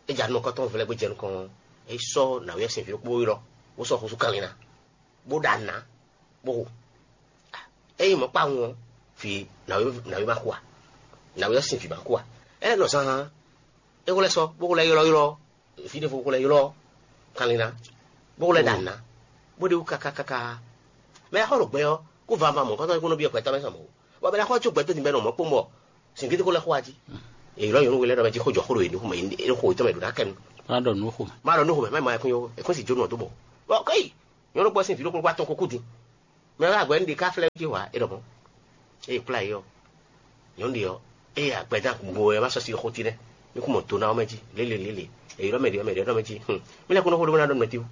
é ja nú mɔ̌hunkɔtɔn vlɛ́ gbé jɛ nukɔn ɔ́, É sɔ́ nǎwe ɔ́ sín vǐ ɖokpó ylɔ́, bó sɔ́ xúsú kanlin ná, bó ɖa nǔ ná, bó xo. Ényí mɔ̌ kpawun ɔ́, vǐ nǎwe má xo a? Nǎwe ɔ́ sín vǐ má xo a? É lɛ́ nɔ zán é xo lɛ́ sɔ́, bó xo lɛ́ ylɔ́ylɔ́, vǐ ɖěvo xo lɛ́ ylɔ́ kanlin ná, bó xo lɛ́ ɖa nǔ ná, bó ɖe wú káká káká. Mɛ e xɔ ɖo gbɛ ɔ́, kó va va mɔ̌ kɔ́tɔ́ é kó nɔ byɔ́ gbɛtɔ́ mɛ sɔ mɔ̌ ó. Bɔ mɛ ná xɔ có gbɛtɔ́ din bɔ é nɔ mɔ̌ kpɔ́n bɔ sǐngídi xó lɛ́ xó wá jí. È ylɔ́ nyɔ̌nu we lɛ́ɛ ɖɔ mɛ jí xó jɔ xó ɖo yě nukún mɛ, é xó yětɔn mɛ ɖo ná kɛ nu. Má ɖɔ nǔ xo. Má ɖɔ nǔ xo mɛ, má ma yɛkún yó, è kún si jónú ɔ́ dó bɔ. Bɔ kɔ́yi, nyɔ̌nu kpɔ́ sín vǐ ɖokpó kpá tɔn ko kú din. Mɛ wɛ agbɛ̌ ɖe ká flɛ́ jí hwa é ɖɔ mɔ̌.Ée è kplá yě ɔ́, nyɔ̌nu ɖě ɔ́, ée agbɛdán gbo wɛ má sɔ́ sí xó tínɛ́, mí kún mɔ do ná ɔ́ mɛ jí, lélelélé, è ylɔ́ mɛ ɖě ɔ́, mɛ ɖě ɔ́ ɖɔ mɛ jí, hǔn, mí lɛ́ kún nɔ xó ɖó bó ná ɖɔ nú mɛ tíwú.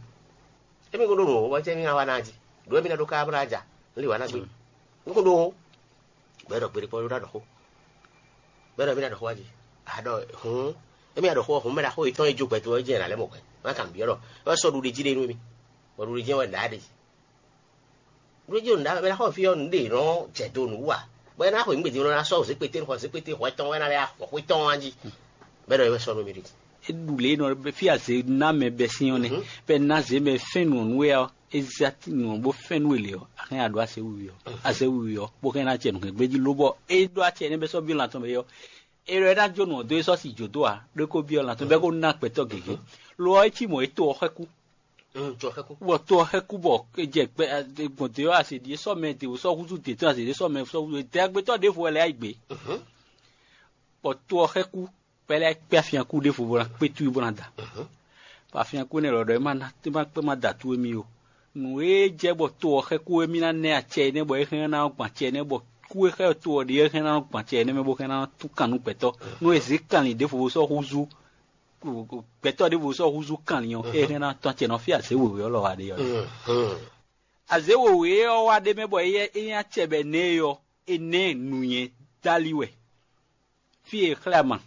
Émí kún ɖó nǔ wɔ̌ bɔ jɛ́ mí ná wá ná jí, ɖǒ émí ná ɖó ká bó ná ja, un lí wǎ ná gbé. Un kún ɖó ó, bɔ é ɖɔ gbeɖé kpɔ́ ɖó ná ɖɔ xó, bɔ é ɖɔ émí ná ɖɔ xó wá jí. A ɖɔ hǔn, émí ná ɖɔ xó ɔ́, hǔn mɛ ɖaxó yětɔn e jó gbɛdo ɔ́ jɛ́n è nǎ lɛ́ mɔ hwɛ̌, má kan nǔ byɔ́ ɖɔ é wɛ sɔ́ ɖuɖi jí ɖe nú émí, bɔ ɖuɖi jí wɛ nǔɖá ɖe. Ɖuɖi jí nǔɖá mɛ ɖaxó fí ɔ́ nǔɖé nɔ jɛ do nǔ wú a? Bɔ é ná xweyǐgbe din nɔ ná sɔ́ zěkpété nukɔn, zěkpété hwɛtɔn wɛ ná lɛ́ axɔ xwé tɔn wá jí, bɔ é ɖɔ é wɛ sɔ́ nú émí ɖe. É ɖu lě e nɔ fí azě ná mɛ bɛ́ sín ɔ́ nɛ́, bɔ é ná zě mɛ fɛ́n nǔ ɔ́ nú we ɔ́, é zé nǔ ɔ́ bó fɛ́n nú we lě ɔ́, a hɛn a ɖǒ azě wiwi ɔ́, azě wiwi ɔ́, bó hɛn ná acɛ nǔhɛngbé jí lobɔ é ɖó acɛ énɛ́ bɛ́ sɔ́ byɔ́ lan tɔn mɛ é ɔ́, é ɖɔ é ná jó nǔ ɔ́ dó é sɔ́ si jǒ dó ǎ, ɖó é ko byɔ́ lan tɔn bɔ é ko ná gbɛtɔ́ gěgé. Lo ɔ́, é cí mɔ̌ é to ɔ́ xɛ́ kú. Bɔ to ɔ́ xɛ́ kú bɔ é jɛ gbɛ gbɔn dě ɔ́, azě ɖíe sɔ́ mɛ dě sɔ́ húzú dě tɔn, azě ɖíe sɔ́ mɛ sɔ́ húzú dě gbɛtɔ́ ɖěvo wɛ lɛ́ yá yi gbě. Bɔ to ɔ́ xɛ́ kú, bɔ é lɛ́ kpé afyakú ɖěvo bó ná kpé tú i bó ná da. Bɔ afyakú énɛ́ lɔ ɖɔ é má ná é má kpé má da tú émí ó. Nǔ e jɛ bɔ to ɔ́ xɛ́ kú émí ná nɛ́ acɛ énɛ́ bɔ é hɛn ná gbɔn acɛ énɛ́ bɔ kú e xɛ́ to ɔ́ ɖe é hɛn ná gbɔn acɛ énɛ́ mɛ bó hɛn ná tún kan nú gbɛtɔ́. Nú è zě kanlin ɖěvo bó sɔ́ húzú gbɛtɔ́ ɖěvo sɔ́ húzú kanlin ɔ́, é hɛn ná tɔ́n acɛ nɔ fí azě wěwé ɔ́ lɔ wá ɖe ɔ́. Azě wěwé ɔ́ wá ɖ'é mɛ bɔ é nyí acɛ bɔ è nɛ́ ɛ ɔ́, è nɛ́ nǔnywɛ́ dali wɛ. Fí e è xlɛ́ ama,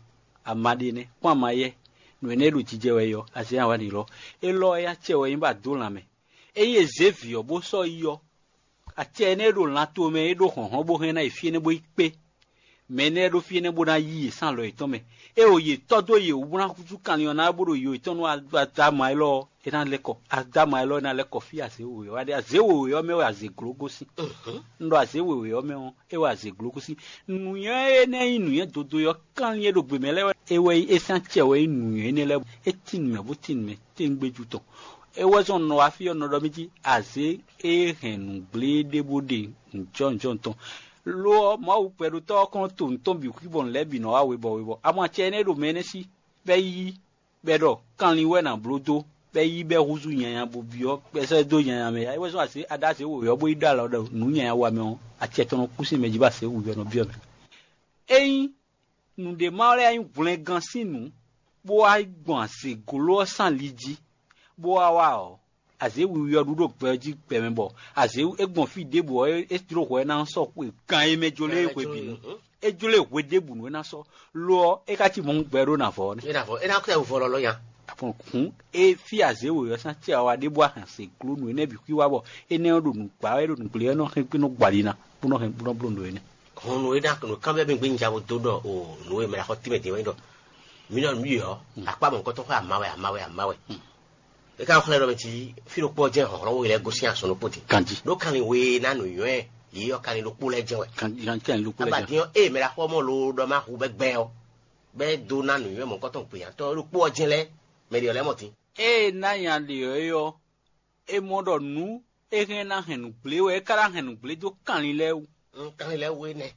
ama ɖe nɛ́, kpɔ́n ama yɛ́, nǔ énɛ́ e ɖo jijɛ wɛ é ɔ́, azě nya wá ɖi lɔ. Élɔ́ ɔ́, é nyí acɛ wɛ é nyí bɔ a dǒ lanmɛ. Ényí è zě vǐ ɔ́ bó sɔ́ yi ɔ́, acɛ énɛ́ e ɖo lan tomɛ é ɖó hlɔ̌nhlɔ́n bó hɛn ná yi fí énɛ́ bó yi kpé. Mɛ énɛ́ lɛ́ɛ ɖó fí énɛ́ bó ná yí yě sín alɔ yětɔn mɛ. É o yě tɔ́ dó yě wú ná húzú kanlin ɔ́ ná bó ɖo yo yětɔn nú Adáma élɔ́ ɔ́, é ná lɛ́ kɔ. Adáma élɔ́ ná lɛ́ kɔ fí azě wěwé ɔ́ wá ɖe. Azě wěwé ɔ́ mɛ wɛ azě gló gosín. Un ɖɔ azě wěwé ɔ́ mɛ ɔ́, é wɛ azě gló gosín. Nǔnywɛ́ énɛ́ nyí nǔnywɛ́ dodo ɔ́, kanlin e ɖo gbě mɛ lɛ́ɛ wɛ é wɛ nyí é sín acɛ wɛ nyí nǔnywɛ́ énɛ́ lɛ́ɛ. É tín nǔ mɛ bó tín nǔ mɛ téŋgbéjú tɔn. É wɛ zɔn nɔ wá fí ɔ́ nɔ ɖɔ mì jí azě e hɛn nǔgblé ɖé bó ɖe nǔjɔnǔjɔn tɔn. Lo ɔ́, Mawu gbɛɖotɔ́ ɔ́ kɔn to nǔ tɔn bǐ xwí bɔ nǔ lɛ́ɛ bǐ nɔ wá webɔ webɔ. Amɔ acɛ énɛ́ ɖo mɛ énɛ́ sí, bɔ é yí, bɔ é ɖɔ kanlin wɛ nǎ bló dó, bɔ é yí bɔ é húzú nyanya bó byɔ́ bɔ é sɔ́ ɛ dó nyanya mɛ. É wɛ zɔ́n azě aɖázě wǒyɔ́ bó yi ɖó alɔ ɖɔ nǔ nyanya wa mɛ ɔ́, acɛ tɔn nɔ kú sín mɛ jí bɔ azě wǔyɔ́ nɔ byɔ́ mɛ. Ényí nǔɖé ma lɛ́ nyí hwlɛngán sín nǔ, bó wá gbɔn azě gló ɔ́ sín ali jí, bó wá wá ɔ́, azě wiwi ɔ́ ɖu ɖo gbɛ ɔ́ jí gbɛ mɛ bɔ azě é gbɔn fí ɖěbǔ ɔ́, é jló hwɛ ná sɔ́ xwe gan e mɛ jló é hwebǐnu. É jló e hwe ɖěbǔnu é ná sɔ́. Lo ɔ́, é ka cí mɔ̌ gbɛ ɖó nǎ vɔ ɔ́ nɛ́. É nǎ vɔ, é ná kɛ wǔvɔ lɔlɔ́ nya. Àpɔn hǔn é fí azě wǒyɔ́ sín acɛ wa ɖé bó wá hɛn se gló nǔ énɛ́ bǐ xwí wá bɔ énɛ́ ɔ́ ɖo nǔ gbá wɛ, é ɖo nǔ gblé wɛ, é nɔ hɛn gbé nɔ gbɔ ali ná, bó nɔ hɛn bó nɔ bló nǔ énɛ́. Hɔn nǔ e ɖo nǔ kanbyɔ́ mì gbé un ja bo dó ɖɔ o nǔ e mɛ ɖo axɔ tínmɛ din wɛ nyí ɖɔ mǐ nɔ nǔ yi ɔ́, akpá mɔ̌hunkɔtɔn xwé ama wɛ ama wɛ ama wɛ. É ka xlɛ́ ɖɔ mɛ cí fí ɖokpó ɔ́ jɛ́n hlɔ̌nhlɔ́n we lɛ́ɛ gosín azɔn ɖokpó din. Ganjí. Ɖó kanlin we ná nǔnywɛ́ yě ɔ́ kanlin ɖokpó lɛ́ɛ jɛ́n wɛ. Ganjí, kanlin ɖokpó lɛ́ɛ jɛ́n. Abadín ɔ́, ée mɛ ɖo axɔ mɔ loo ɖɔ má hu bɛ́ gbɛ ɔ́, bɛ́ dó ná nǔnywɛ́ mɔ̌hunkɔtɔn gbeyǎtɔ́ ɖokpó ɔ́ jɛ́n lɛ́ɛ mɛ ɖě ɔ́ lɛ́ɛ mɔ din. Ée ná nya ɖe ɔ́ é ɔ́, é mɔ ɖɔ nǔ e hɛn ná hɛn nǔgblé wɛ é ka ná hɛn nǔgblé dó kanlin lɛ́ɛ wú. Kanlin lɛ́ɛ wú énɛ́.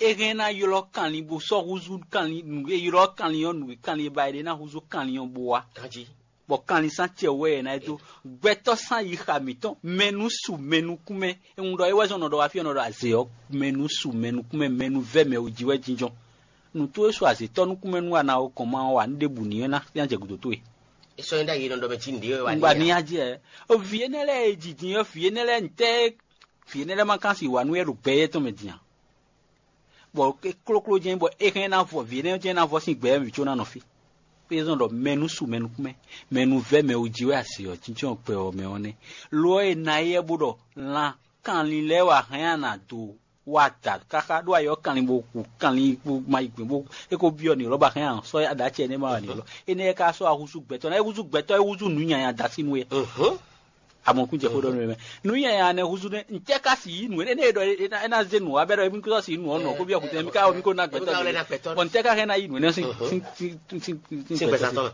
É hɛn ná ylɔ́ kanlin bó sɔ́ húzú kanlin nǔ e ylɔ́ kanlin ɔ́ nǔ e kanlin e ba è ɖe ná húzú kanlin ɔ́ bó wá. Ganjí. Bɔ kanlin sín acɛ wɛ è ná yi dó. Gbɛtɔ́ sín ayixa mǐtɔn mɛ nú su mɛ nukúnmɛ. È ŋun ɖɔ é wɛ zɔn nɔ ɖɔ wá fí ɔ́ nɔ ɖɔ azě ɔ́ mɛ nú su mɛ nukúnmɛ mɛ nú vɛ́ mɛ wú jí wɛ jínjɔ́n. Nǔ towe su azětɔ́ nukúnmɛ nú a na ɔ́ gɔn ma ɔ́ ǎ, nú ɖěbǔ ní é ná ná jɛ gǔdo towe. É sɔ́ nyí ɖ'ayǐ e nɔ ɖɔ mɛ cí nǔɖé wɛ wá Un ní gba ní ǎ. Á jɛ. Vǐ énɛ́ lɛ́ɛ e jijin ɔ́, vǐ énɛ́ lɛ́ɛ ntɛ́ vǐ énɛ́ lɛ́ɛ ma kán si wǎ nú é ɖo gbɛ éyɛ́ tɔn mɛ din a? Bɔ é klókló jɛ́n bɔ é hɛn ná vɔ vǐ énɛ́ jɛ́n ná vɔ sín gbɛ mɛ có ná nɔ fí. Pé zɔn ɖɔ mɛ nú su mɛ nukún mɛ, mɛ nú vɛ́ mɛ wú jí wɛ asi ɔ́ jínjɔ́n gbɛ ɔ́ mɛ ɔ́ nɛ́. Lo ɔ́, è nǎ éyɛ́ bó ɖɔ lan kanlin lɛ́ɛ wɛ a hɛn a nǎ dó Wa da káká ɖó ayɔ kanlin bó ku kanlin bó ma yi gbɛn bó é ko byɔ́ ni lɔ́ ba hɛn an sɔ́ aɖa acɛ nɛ́ ma wa ni lɔ énɛ́ ka sɔ́ ahúzú gbɛtɔ́ ná é húzú gbɛtɔ́ é húzú nǔ nyanya da sí nú é. Amɔkún jɛ xó ɖɔ nú mɛ nǔ nyanya nɛ húzú nɛ ntɛ ka si yí nǔ énɛ́ ɖɔ é ná zé nǔ wa bɛ ɖɔ émi kúsɔ si nǔ ɔnɔ kó byɔ́ kútɛ mi ka wɔ mi ko ná gbɛtɔ́ bɔ ntɛ ka hɛn ná yí nǔ énɛ́ sín gbɛtɔ́.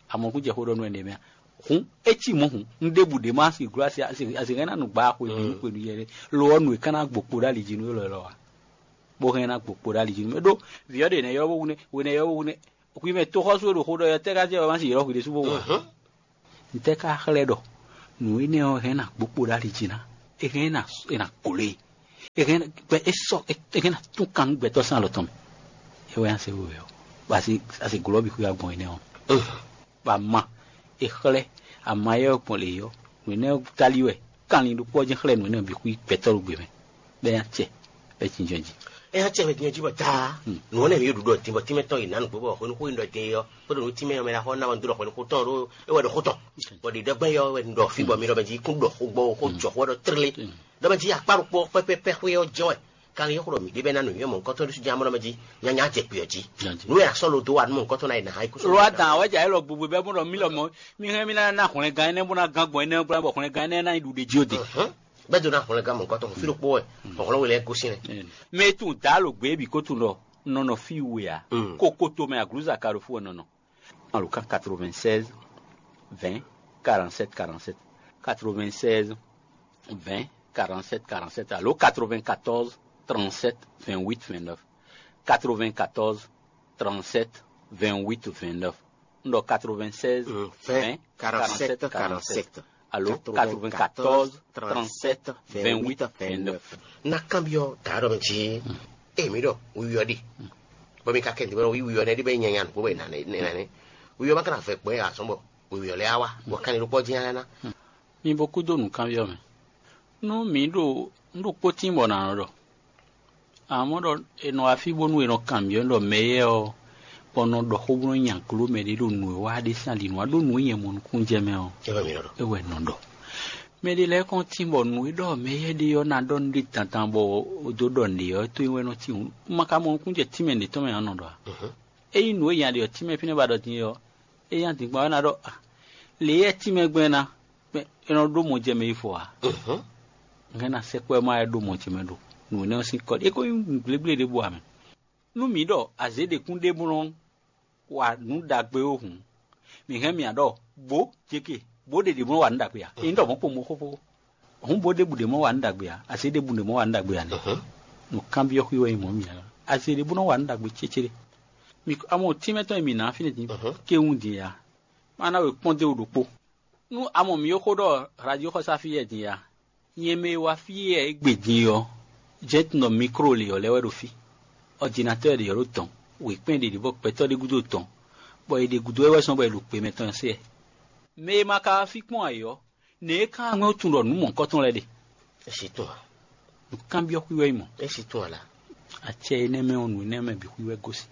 Amɔkún jɛ xó ɖɔ nú ɛnɛ mɛ. Hǔn é cí mɔ̌ hǔn un ɖěbǔ ɖě má si gló asi asi asi hɛn ná nu gbá xwe nú xwe nú yɛ ɖé. Lo ɔ́ nu è ká ná gbo kpo ɖó ali jí nú élɔ́ élɔ́ ǎ. Bó hɛn ná gbo kpo ɖó ali jí nú mɛ ɖó vǐ ɔ́ ɖě nɛ́ ylɔ́ bó wú nɛ́ hwenɛ́ ylɔ́ bó wú nɛ́ hwi mɛ toxɔ́sú e ɖo xó ɖɔ ɔ́ tɛ́ ká jɛ wɛ má si ylɔ́ hwi ɖésú bó wú ǎ. Un tɛ́ ká xlɛ́ ɖɔ nǔ énɛ́ ɔ́ hɛn ná gbo kpo ɖó ali jí ná é hɛn ná é ná gló e é hɛn gbɛ é sɔ é hɛn ná tún kan nú gbɛtɔ́ sín alɔ tɔn mɛ. É wɛ nyí se wewɛ ɔ́ bɔ asi asi glɔ́ bǐ xwé agbɔn énɛ́ ɔ́. Bɔ ama è xlɛ́ ama éyɛ́ ɔ́ gbɔn lě ɔ́, nǔ énɛ́ ɔ́ táli wɛ kanlin ɖokpó ɔ́ jɛ́n xlɛ́ nǔ énɛ́ ɔ́ bǐ xwí gbɛtɔ́ ɖo gbe mɛ, bɔ é ná acɛ bɔ é jínjɔ́n jí. É ná acɛ bɔ é jínjɔ́n jí bɔ taa nǔ ɔ́ nɛ́ mǐ ɖu ɖɔ din bɔ tínmɛ tɔn yi nǎ nǔgbó bɔ hwenuxó yi ɖɔ din é ɔ́ kpódó nǔ tínmɛ ɔ́ mɛ ná xɔ ná wɛ un dó ɖɔ hwenuxó tɔn ɖó é wɛ ɖo xó tɔn bɔ ɖě ɖɔ gbɛ́ yɔ wɛ un ɖɔ fí bɔ mi ɖɔ mɛ jí kún ɖɔ xó gbɔ xó jɔ xó wɛ ɖɔ tlé ɖɔ mɛ jí akpá ɖokpó ɔ́ pɛ́pɛ́pɛ́ xwé ɔ́ jɛ wɛ. Kanlin e xlɔ́ mǐ ɖe bɛ́ ná nǔnywɛ́ mɔ̌hunkɔtɔn ɖésú jɛ́n amlɔ mɛ jí nyanya jɛ kpǐ ɔ́ jí. Nǔ e a sɔ́ lo dó wa nú mɔ̌hunkɔtɔn ná yi nǎ ha ikú sɔ́. Lo wa dǎn wɛ jɛ ayé lɔ gbogbo bɛ́ bó ɖɔ mí lɔ mɔ̌ mí hɛn mí ná ná hwlɛngán énɛ́ bó ná gán gbɔn énɛ́ bó ná bɔ hwlɛngán énɛ́ ná nyi ɖuɖe jí ó de. Bɛ́ dó ná hwlɛngán mɔ̌hunkɔtɔn fí ɖokpó wɛ hɔnhlɔ́n we lɛ́ɛ gosín lɛ. Mɛ e tunwun dǎ lo gbě bǐ ko tunwun ɖɔ nɔ nɔ fí we ǎ. Kokoto mɛ aglǔza ka ɖo fú wɛ nɔ nɔ. Alo kan quatre-vingt-seize vingt quarante-sept quarante-sept, quatre-vingt-seize vingt quarante-sept quarante-sept alo quatre-vingt-quatorze trente-sept vingt-huit vingt-neuf, quatre-vingt-quatorze trente-sept vingt-huit vingt-neuf. Un ɖɔ quatre-vingt-seize vingt quarante-sept quarante-sept alo quatre-vingt-quatorze trente-sept vingt-huit vingt-neuf. Na kanbyɔ́ dǎ ɖɔ mɛ jí. Emi ɖɔ wíwí ɔ́ ɖi bɔ mi ka kɛ ntɛ́ bɔ wíwí ɔ́ nɛ́ ɖi bɔ é nyanya nǔgbó bɔ è nǎ nɛ́ nɛ́ wíwí ɔ́ ma ka ná vɛ gbɔn ɛ azɔn bɔ wíwí ɔ́ lɛ́ á wá bɔ kanni ɖokpó ɔ́ jínjɔ́n ná. Mi bo kúdó nǔkanbyɔ́ mɛ. Nú mǐ ɖo un ɖo kpótín bɔ nǎ nɔ ɖɔ amɔ̌ ɖɔ è nɔ wá fí bónú è nɔ kanbyɔ́ ɖɔ mɛ éyɛ́ ɔ́ bɔ nɔ ɖɔ xó bó nɔ nya gló mɛ ɖé ɖo nǔ e wa ɖe sín ali nǔ wa ɖó nǔ e nyɛ mɔ nukúnnú jɛ mɛ ɔ́, é wɛ nɔ ɖɔ. Mɛ ɖé lɛ́ɛ kɔn tín bɔ nǔ e ɖɔ mɛ éyɛ́ ɖe ɔ́ ná ɖɔ nú ɖé dandan bɔ é dó ɖɔ nǔɖé ɔ́, é tó nyí wɛ nɔ tín hǔn. Un ma ka mɔ nukúnnú jɛ tínmɛ ɖě tɔn mɛ ǎ nɔ ɖɔ ǎ. Ényí nǔ e nya ɖe ɔ́ tínmɛ fínɛ́ ba ɖɔ din é ɔ́, é nyí adǐngban ɔ́ ná ɖɔ lě e tínmɛ gbɛn ná é nɔ ɖó mɔ jɛ mɛ yi fɔ ǎ. Hɛn ná sɛkpɔ́ ɛ má wɛ ɖó mɔ ce mɛ ɖo nǔ énɛ́ ɔ́ sín kɔ é ko nyí nǔgblégbléɖé bú ǎ mɛ. Nú mǐ ɖɔ azě ɖě kún ɖe bó nɔ wa nǔ ɖagbe ó hǔn, mǐ hɛn mì ǎ ɖɔ bǒ jeke bǒ ɖe ɖě bó nɔ wa nǔ ɖagbe ǎ. Ényí ɖɔ mɔ̌ kpo mɔ xóxó hǔn bó ɖěbǔ ɖě mɔ wa nǔ ɖagbe ǎ, azě ɖěbǔ ɖě mɔ wa nǔ ɖagbe ǎ nɛ́. Nǔkanbyɔ́ xwí wɛ nyí mɔ̌ mǐ ǎ. Azě ɖě bó nɔ wa nǔ ɖagbe cécéɖé. Mǐ amɔ tínmɛ tɔn e mǐ ná fínɛ́ din kéwún din ǎ. Má ná we kpɔ́n dó wú ɖokpó. Nú a mɔ mǐ e xó ɖɔ radioxɔsá fí yɛ din a? Nyɛ mɛ e wá fí yɛ égbé din ɔ́, jɛ́n tunɔ mikro lě ɔ́ lɛ́ wɛ ɖo fí. Ɔdinatɔ́ ɖě ɔ́ ɖo dɔ̌n, wěkpɛ́n ɖě ɖě bɔ gbɛtɔ́ ɖé gúdo dɔ̌n, bɔ è ɖe gúdo wɛ wɛ sɔ́ bɔ è ɖo gbe mɛtɔn se ɛ. Mɛ e ma ka wá fí kpɔ́n ǎ é ɔ́, nɛ̌ é ka wá ŋwɛ́ tunwun ɖɔ nǔ mɔ̌hunkɔtɔn lɛ́ɛ ɖe? É sí tunwun ǎ. Nǔkanbyɔ́ xwí wɛ é mɔ. É sí tunwun ǎ lá. Acɛ énɛ́ mɛ ɔ́, nǔ énɛ́ mɛ bǐ xwí wɛ gosín.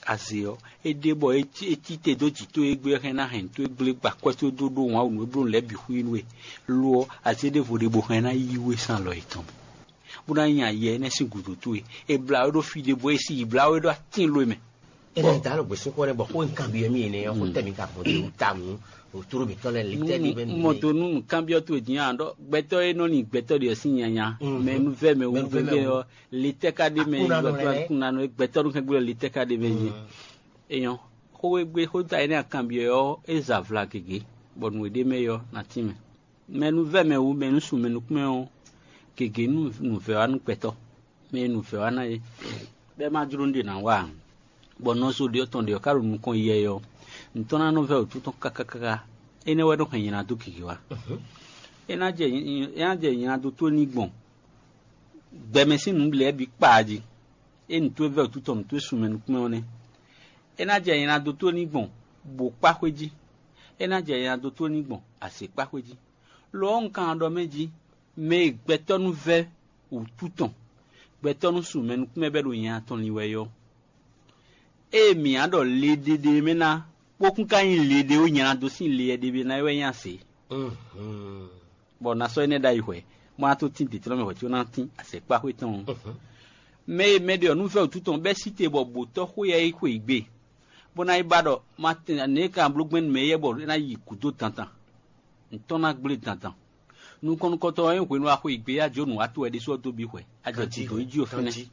Azě ɔ́, é ɖe bɔ é cí te dó jǐ towe égbé ɔ́ hɛn ná hɛn nǔ towe gblé gba akwɛ́ towe dó ɖó wǎn wǔ nú é bló nǔ lɛ́ɛ bǐ xwí nú we. Lo ɔ́, azě ɖěvo ɖe bó hɛn ná yí we sín alɔ yětɔn mɛ, bó ná nya yɛ énɛ́ sín gǔdo towe. È blǎ we ɖó fí ɖé bó é sí yi blǎ we ɖó atín lo e mɛ. Énɛ́ da alɔ gbèsúnxó nɛ́ bɔ xó e un kanbyɔ́ mì énɛ́ ɔ́, xó tɛ́ mi ka gbɔn dó wú ta mú òtúrú mǐtɔn lɛ́ɛ lě tɛ́ ɖi bɛ́ Mɔ do nú nǔkanbyɔ́ towe din a ɖɔ gbɛtɔ́ e nɔ nyi gbɛtɔ́ ɖě ɔ́ sín nyanya, mɛ e nú vɛ́ mɛ wú vɛ́ mɛ ɔ́, le tɛ́ ka ɖ'é mɛ yi wɛ kúnanɔ e gbɛtɔ́ nú kɛ́ngbé ɔ́ le tɛ́ ka ɖ'é mɛ yi. É nyɔ́. Xó e gbe xó ta énɛ́ a kanbyɔ́ ɔ́, é za vla gěgé, bɔ nǔ e ɖ'é mɛ é ɔ́ ná tínmɛ. Mɛ e nú vɛ́ mɛ wú mɛ e nú sun mɛ nukún mɛ ɔ́, gěgé nú nǔvɛ́ wá nú gbɛtɔ́, mɛ e nǔvɛ́ wá ná é, bɔ é ma jló nú ɖě ná wa ǎ, bɔ nɔzo ɖě ɔ́ tɔn ɖě ɔ́ ka ɖo nukɔn yi yɛ ɔ́, nǔ tɔn ná nɔ vɛ́ wǔtu tɔn káká káká. Énɛ́ wɛ nɔ hɛn nyi ná dó gěgé wá. É ná jɛ é ná jɛ nyi ná dó tó ní gbɔn gbɛmɛ sín nǔ lɛ́ɛ bǐ kpaa jí. É nǔ towe vɛ́ wǔtu tɔn nǔ towe sun mɛ nukún mɛ ɔ́ nɛ́. É ná jɛ nyi ná dó tó ní gbɔn bǒ kpá xwé jí. É ná jɛ nyi ná dó tó ní gbɔn azě kpá xwé jí. Lo ɔ́, un kan ɖɔ mɛ jí, mɛ e gbɛtɔ́ nú vɛ́ wǔtu tɔn, gbɛtɔ́ nú sun mɛ nukún mɛ bɛ́ ɖo nya tɔn lin wɛ é ɔ́, ée mǐ á ɖɔ le ɖé ɖé mɛ ná, bó kún ka nyí le ɖé ó nya ná dó sín le ɛ ɖé mɛ ná é wɛ nyí azě. Bɔ ná sɔ́ énɛ́ ɖ'ayǐ hwɛ̌. bó ná tó tín dǐtlɔ́ mɛ hwɛ̌ có ná tín azɛ̌kpáxwé tɔn ɔ́. Mɛ e mɛ ɖe ɔ̌ nú vɛ́ wǔtu tɔn bɛ́ sí te bɔ bǒtɔ́ xwé yɛ é xwe yi gbe, bó ná yi ba ɖɔ ma tɛn nɛ̌ ka bló gbɛn nú mɛ éyɛ́ bɔ é ná yi gǔdo dandan, ntɔ́n ná gblé dandan. Nukɔn nukɔntɔn ɔ́, é hwenu axwe yi gbe yá jó nǔ wá to wɛ ɖésú ɔ́ dó bǐ hwɛ, a jɛ gǔdo yi jí o fínɛ́.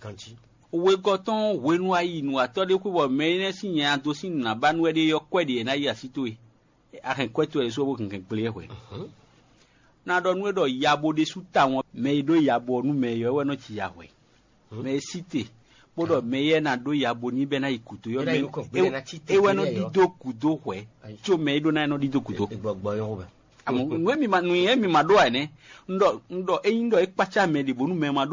Wegɔ́ tɔn hwenu a yi nǔwatɔ́ ɖé xwé bɔ mɛ énɛ́ sín nya dó sín nǔ ná ba nú wɛ ɖé ɔ́, kwɛ ɖě e ná yi así towe. A hɛn kwɛ́ towe ɖésú ɔ́ bó hɛn hɛn gblé ɛ hwɛ. Ná ɖɔ nú we ɖɔ ya bo ɖésú tawun ɔ́, mɛ e ɖó ya bo ɔ́ nú mɛ yɔ́ wɛ nɔ ci ya hwɛ. Mɛ e sí te, bó ɖɔ mɛ yɛ́ ná ɖó ya bo ní bɛ́ ná yi gǔdo yɔ́, é wɛ nɔ ɖídó gǔdo hwɛ, có mɛ e ɖó ná é nɔ ɖídó gǔdo. Nǔ e mi ma ɖó ǎ nɛ́. Un ɖɔ un ɖɔ ényí ɖɔ é kpácá mɛ ɖě bónú mɛ ma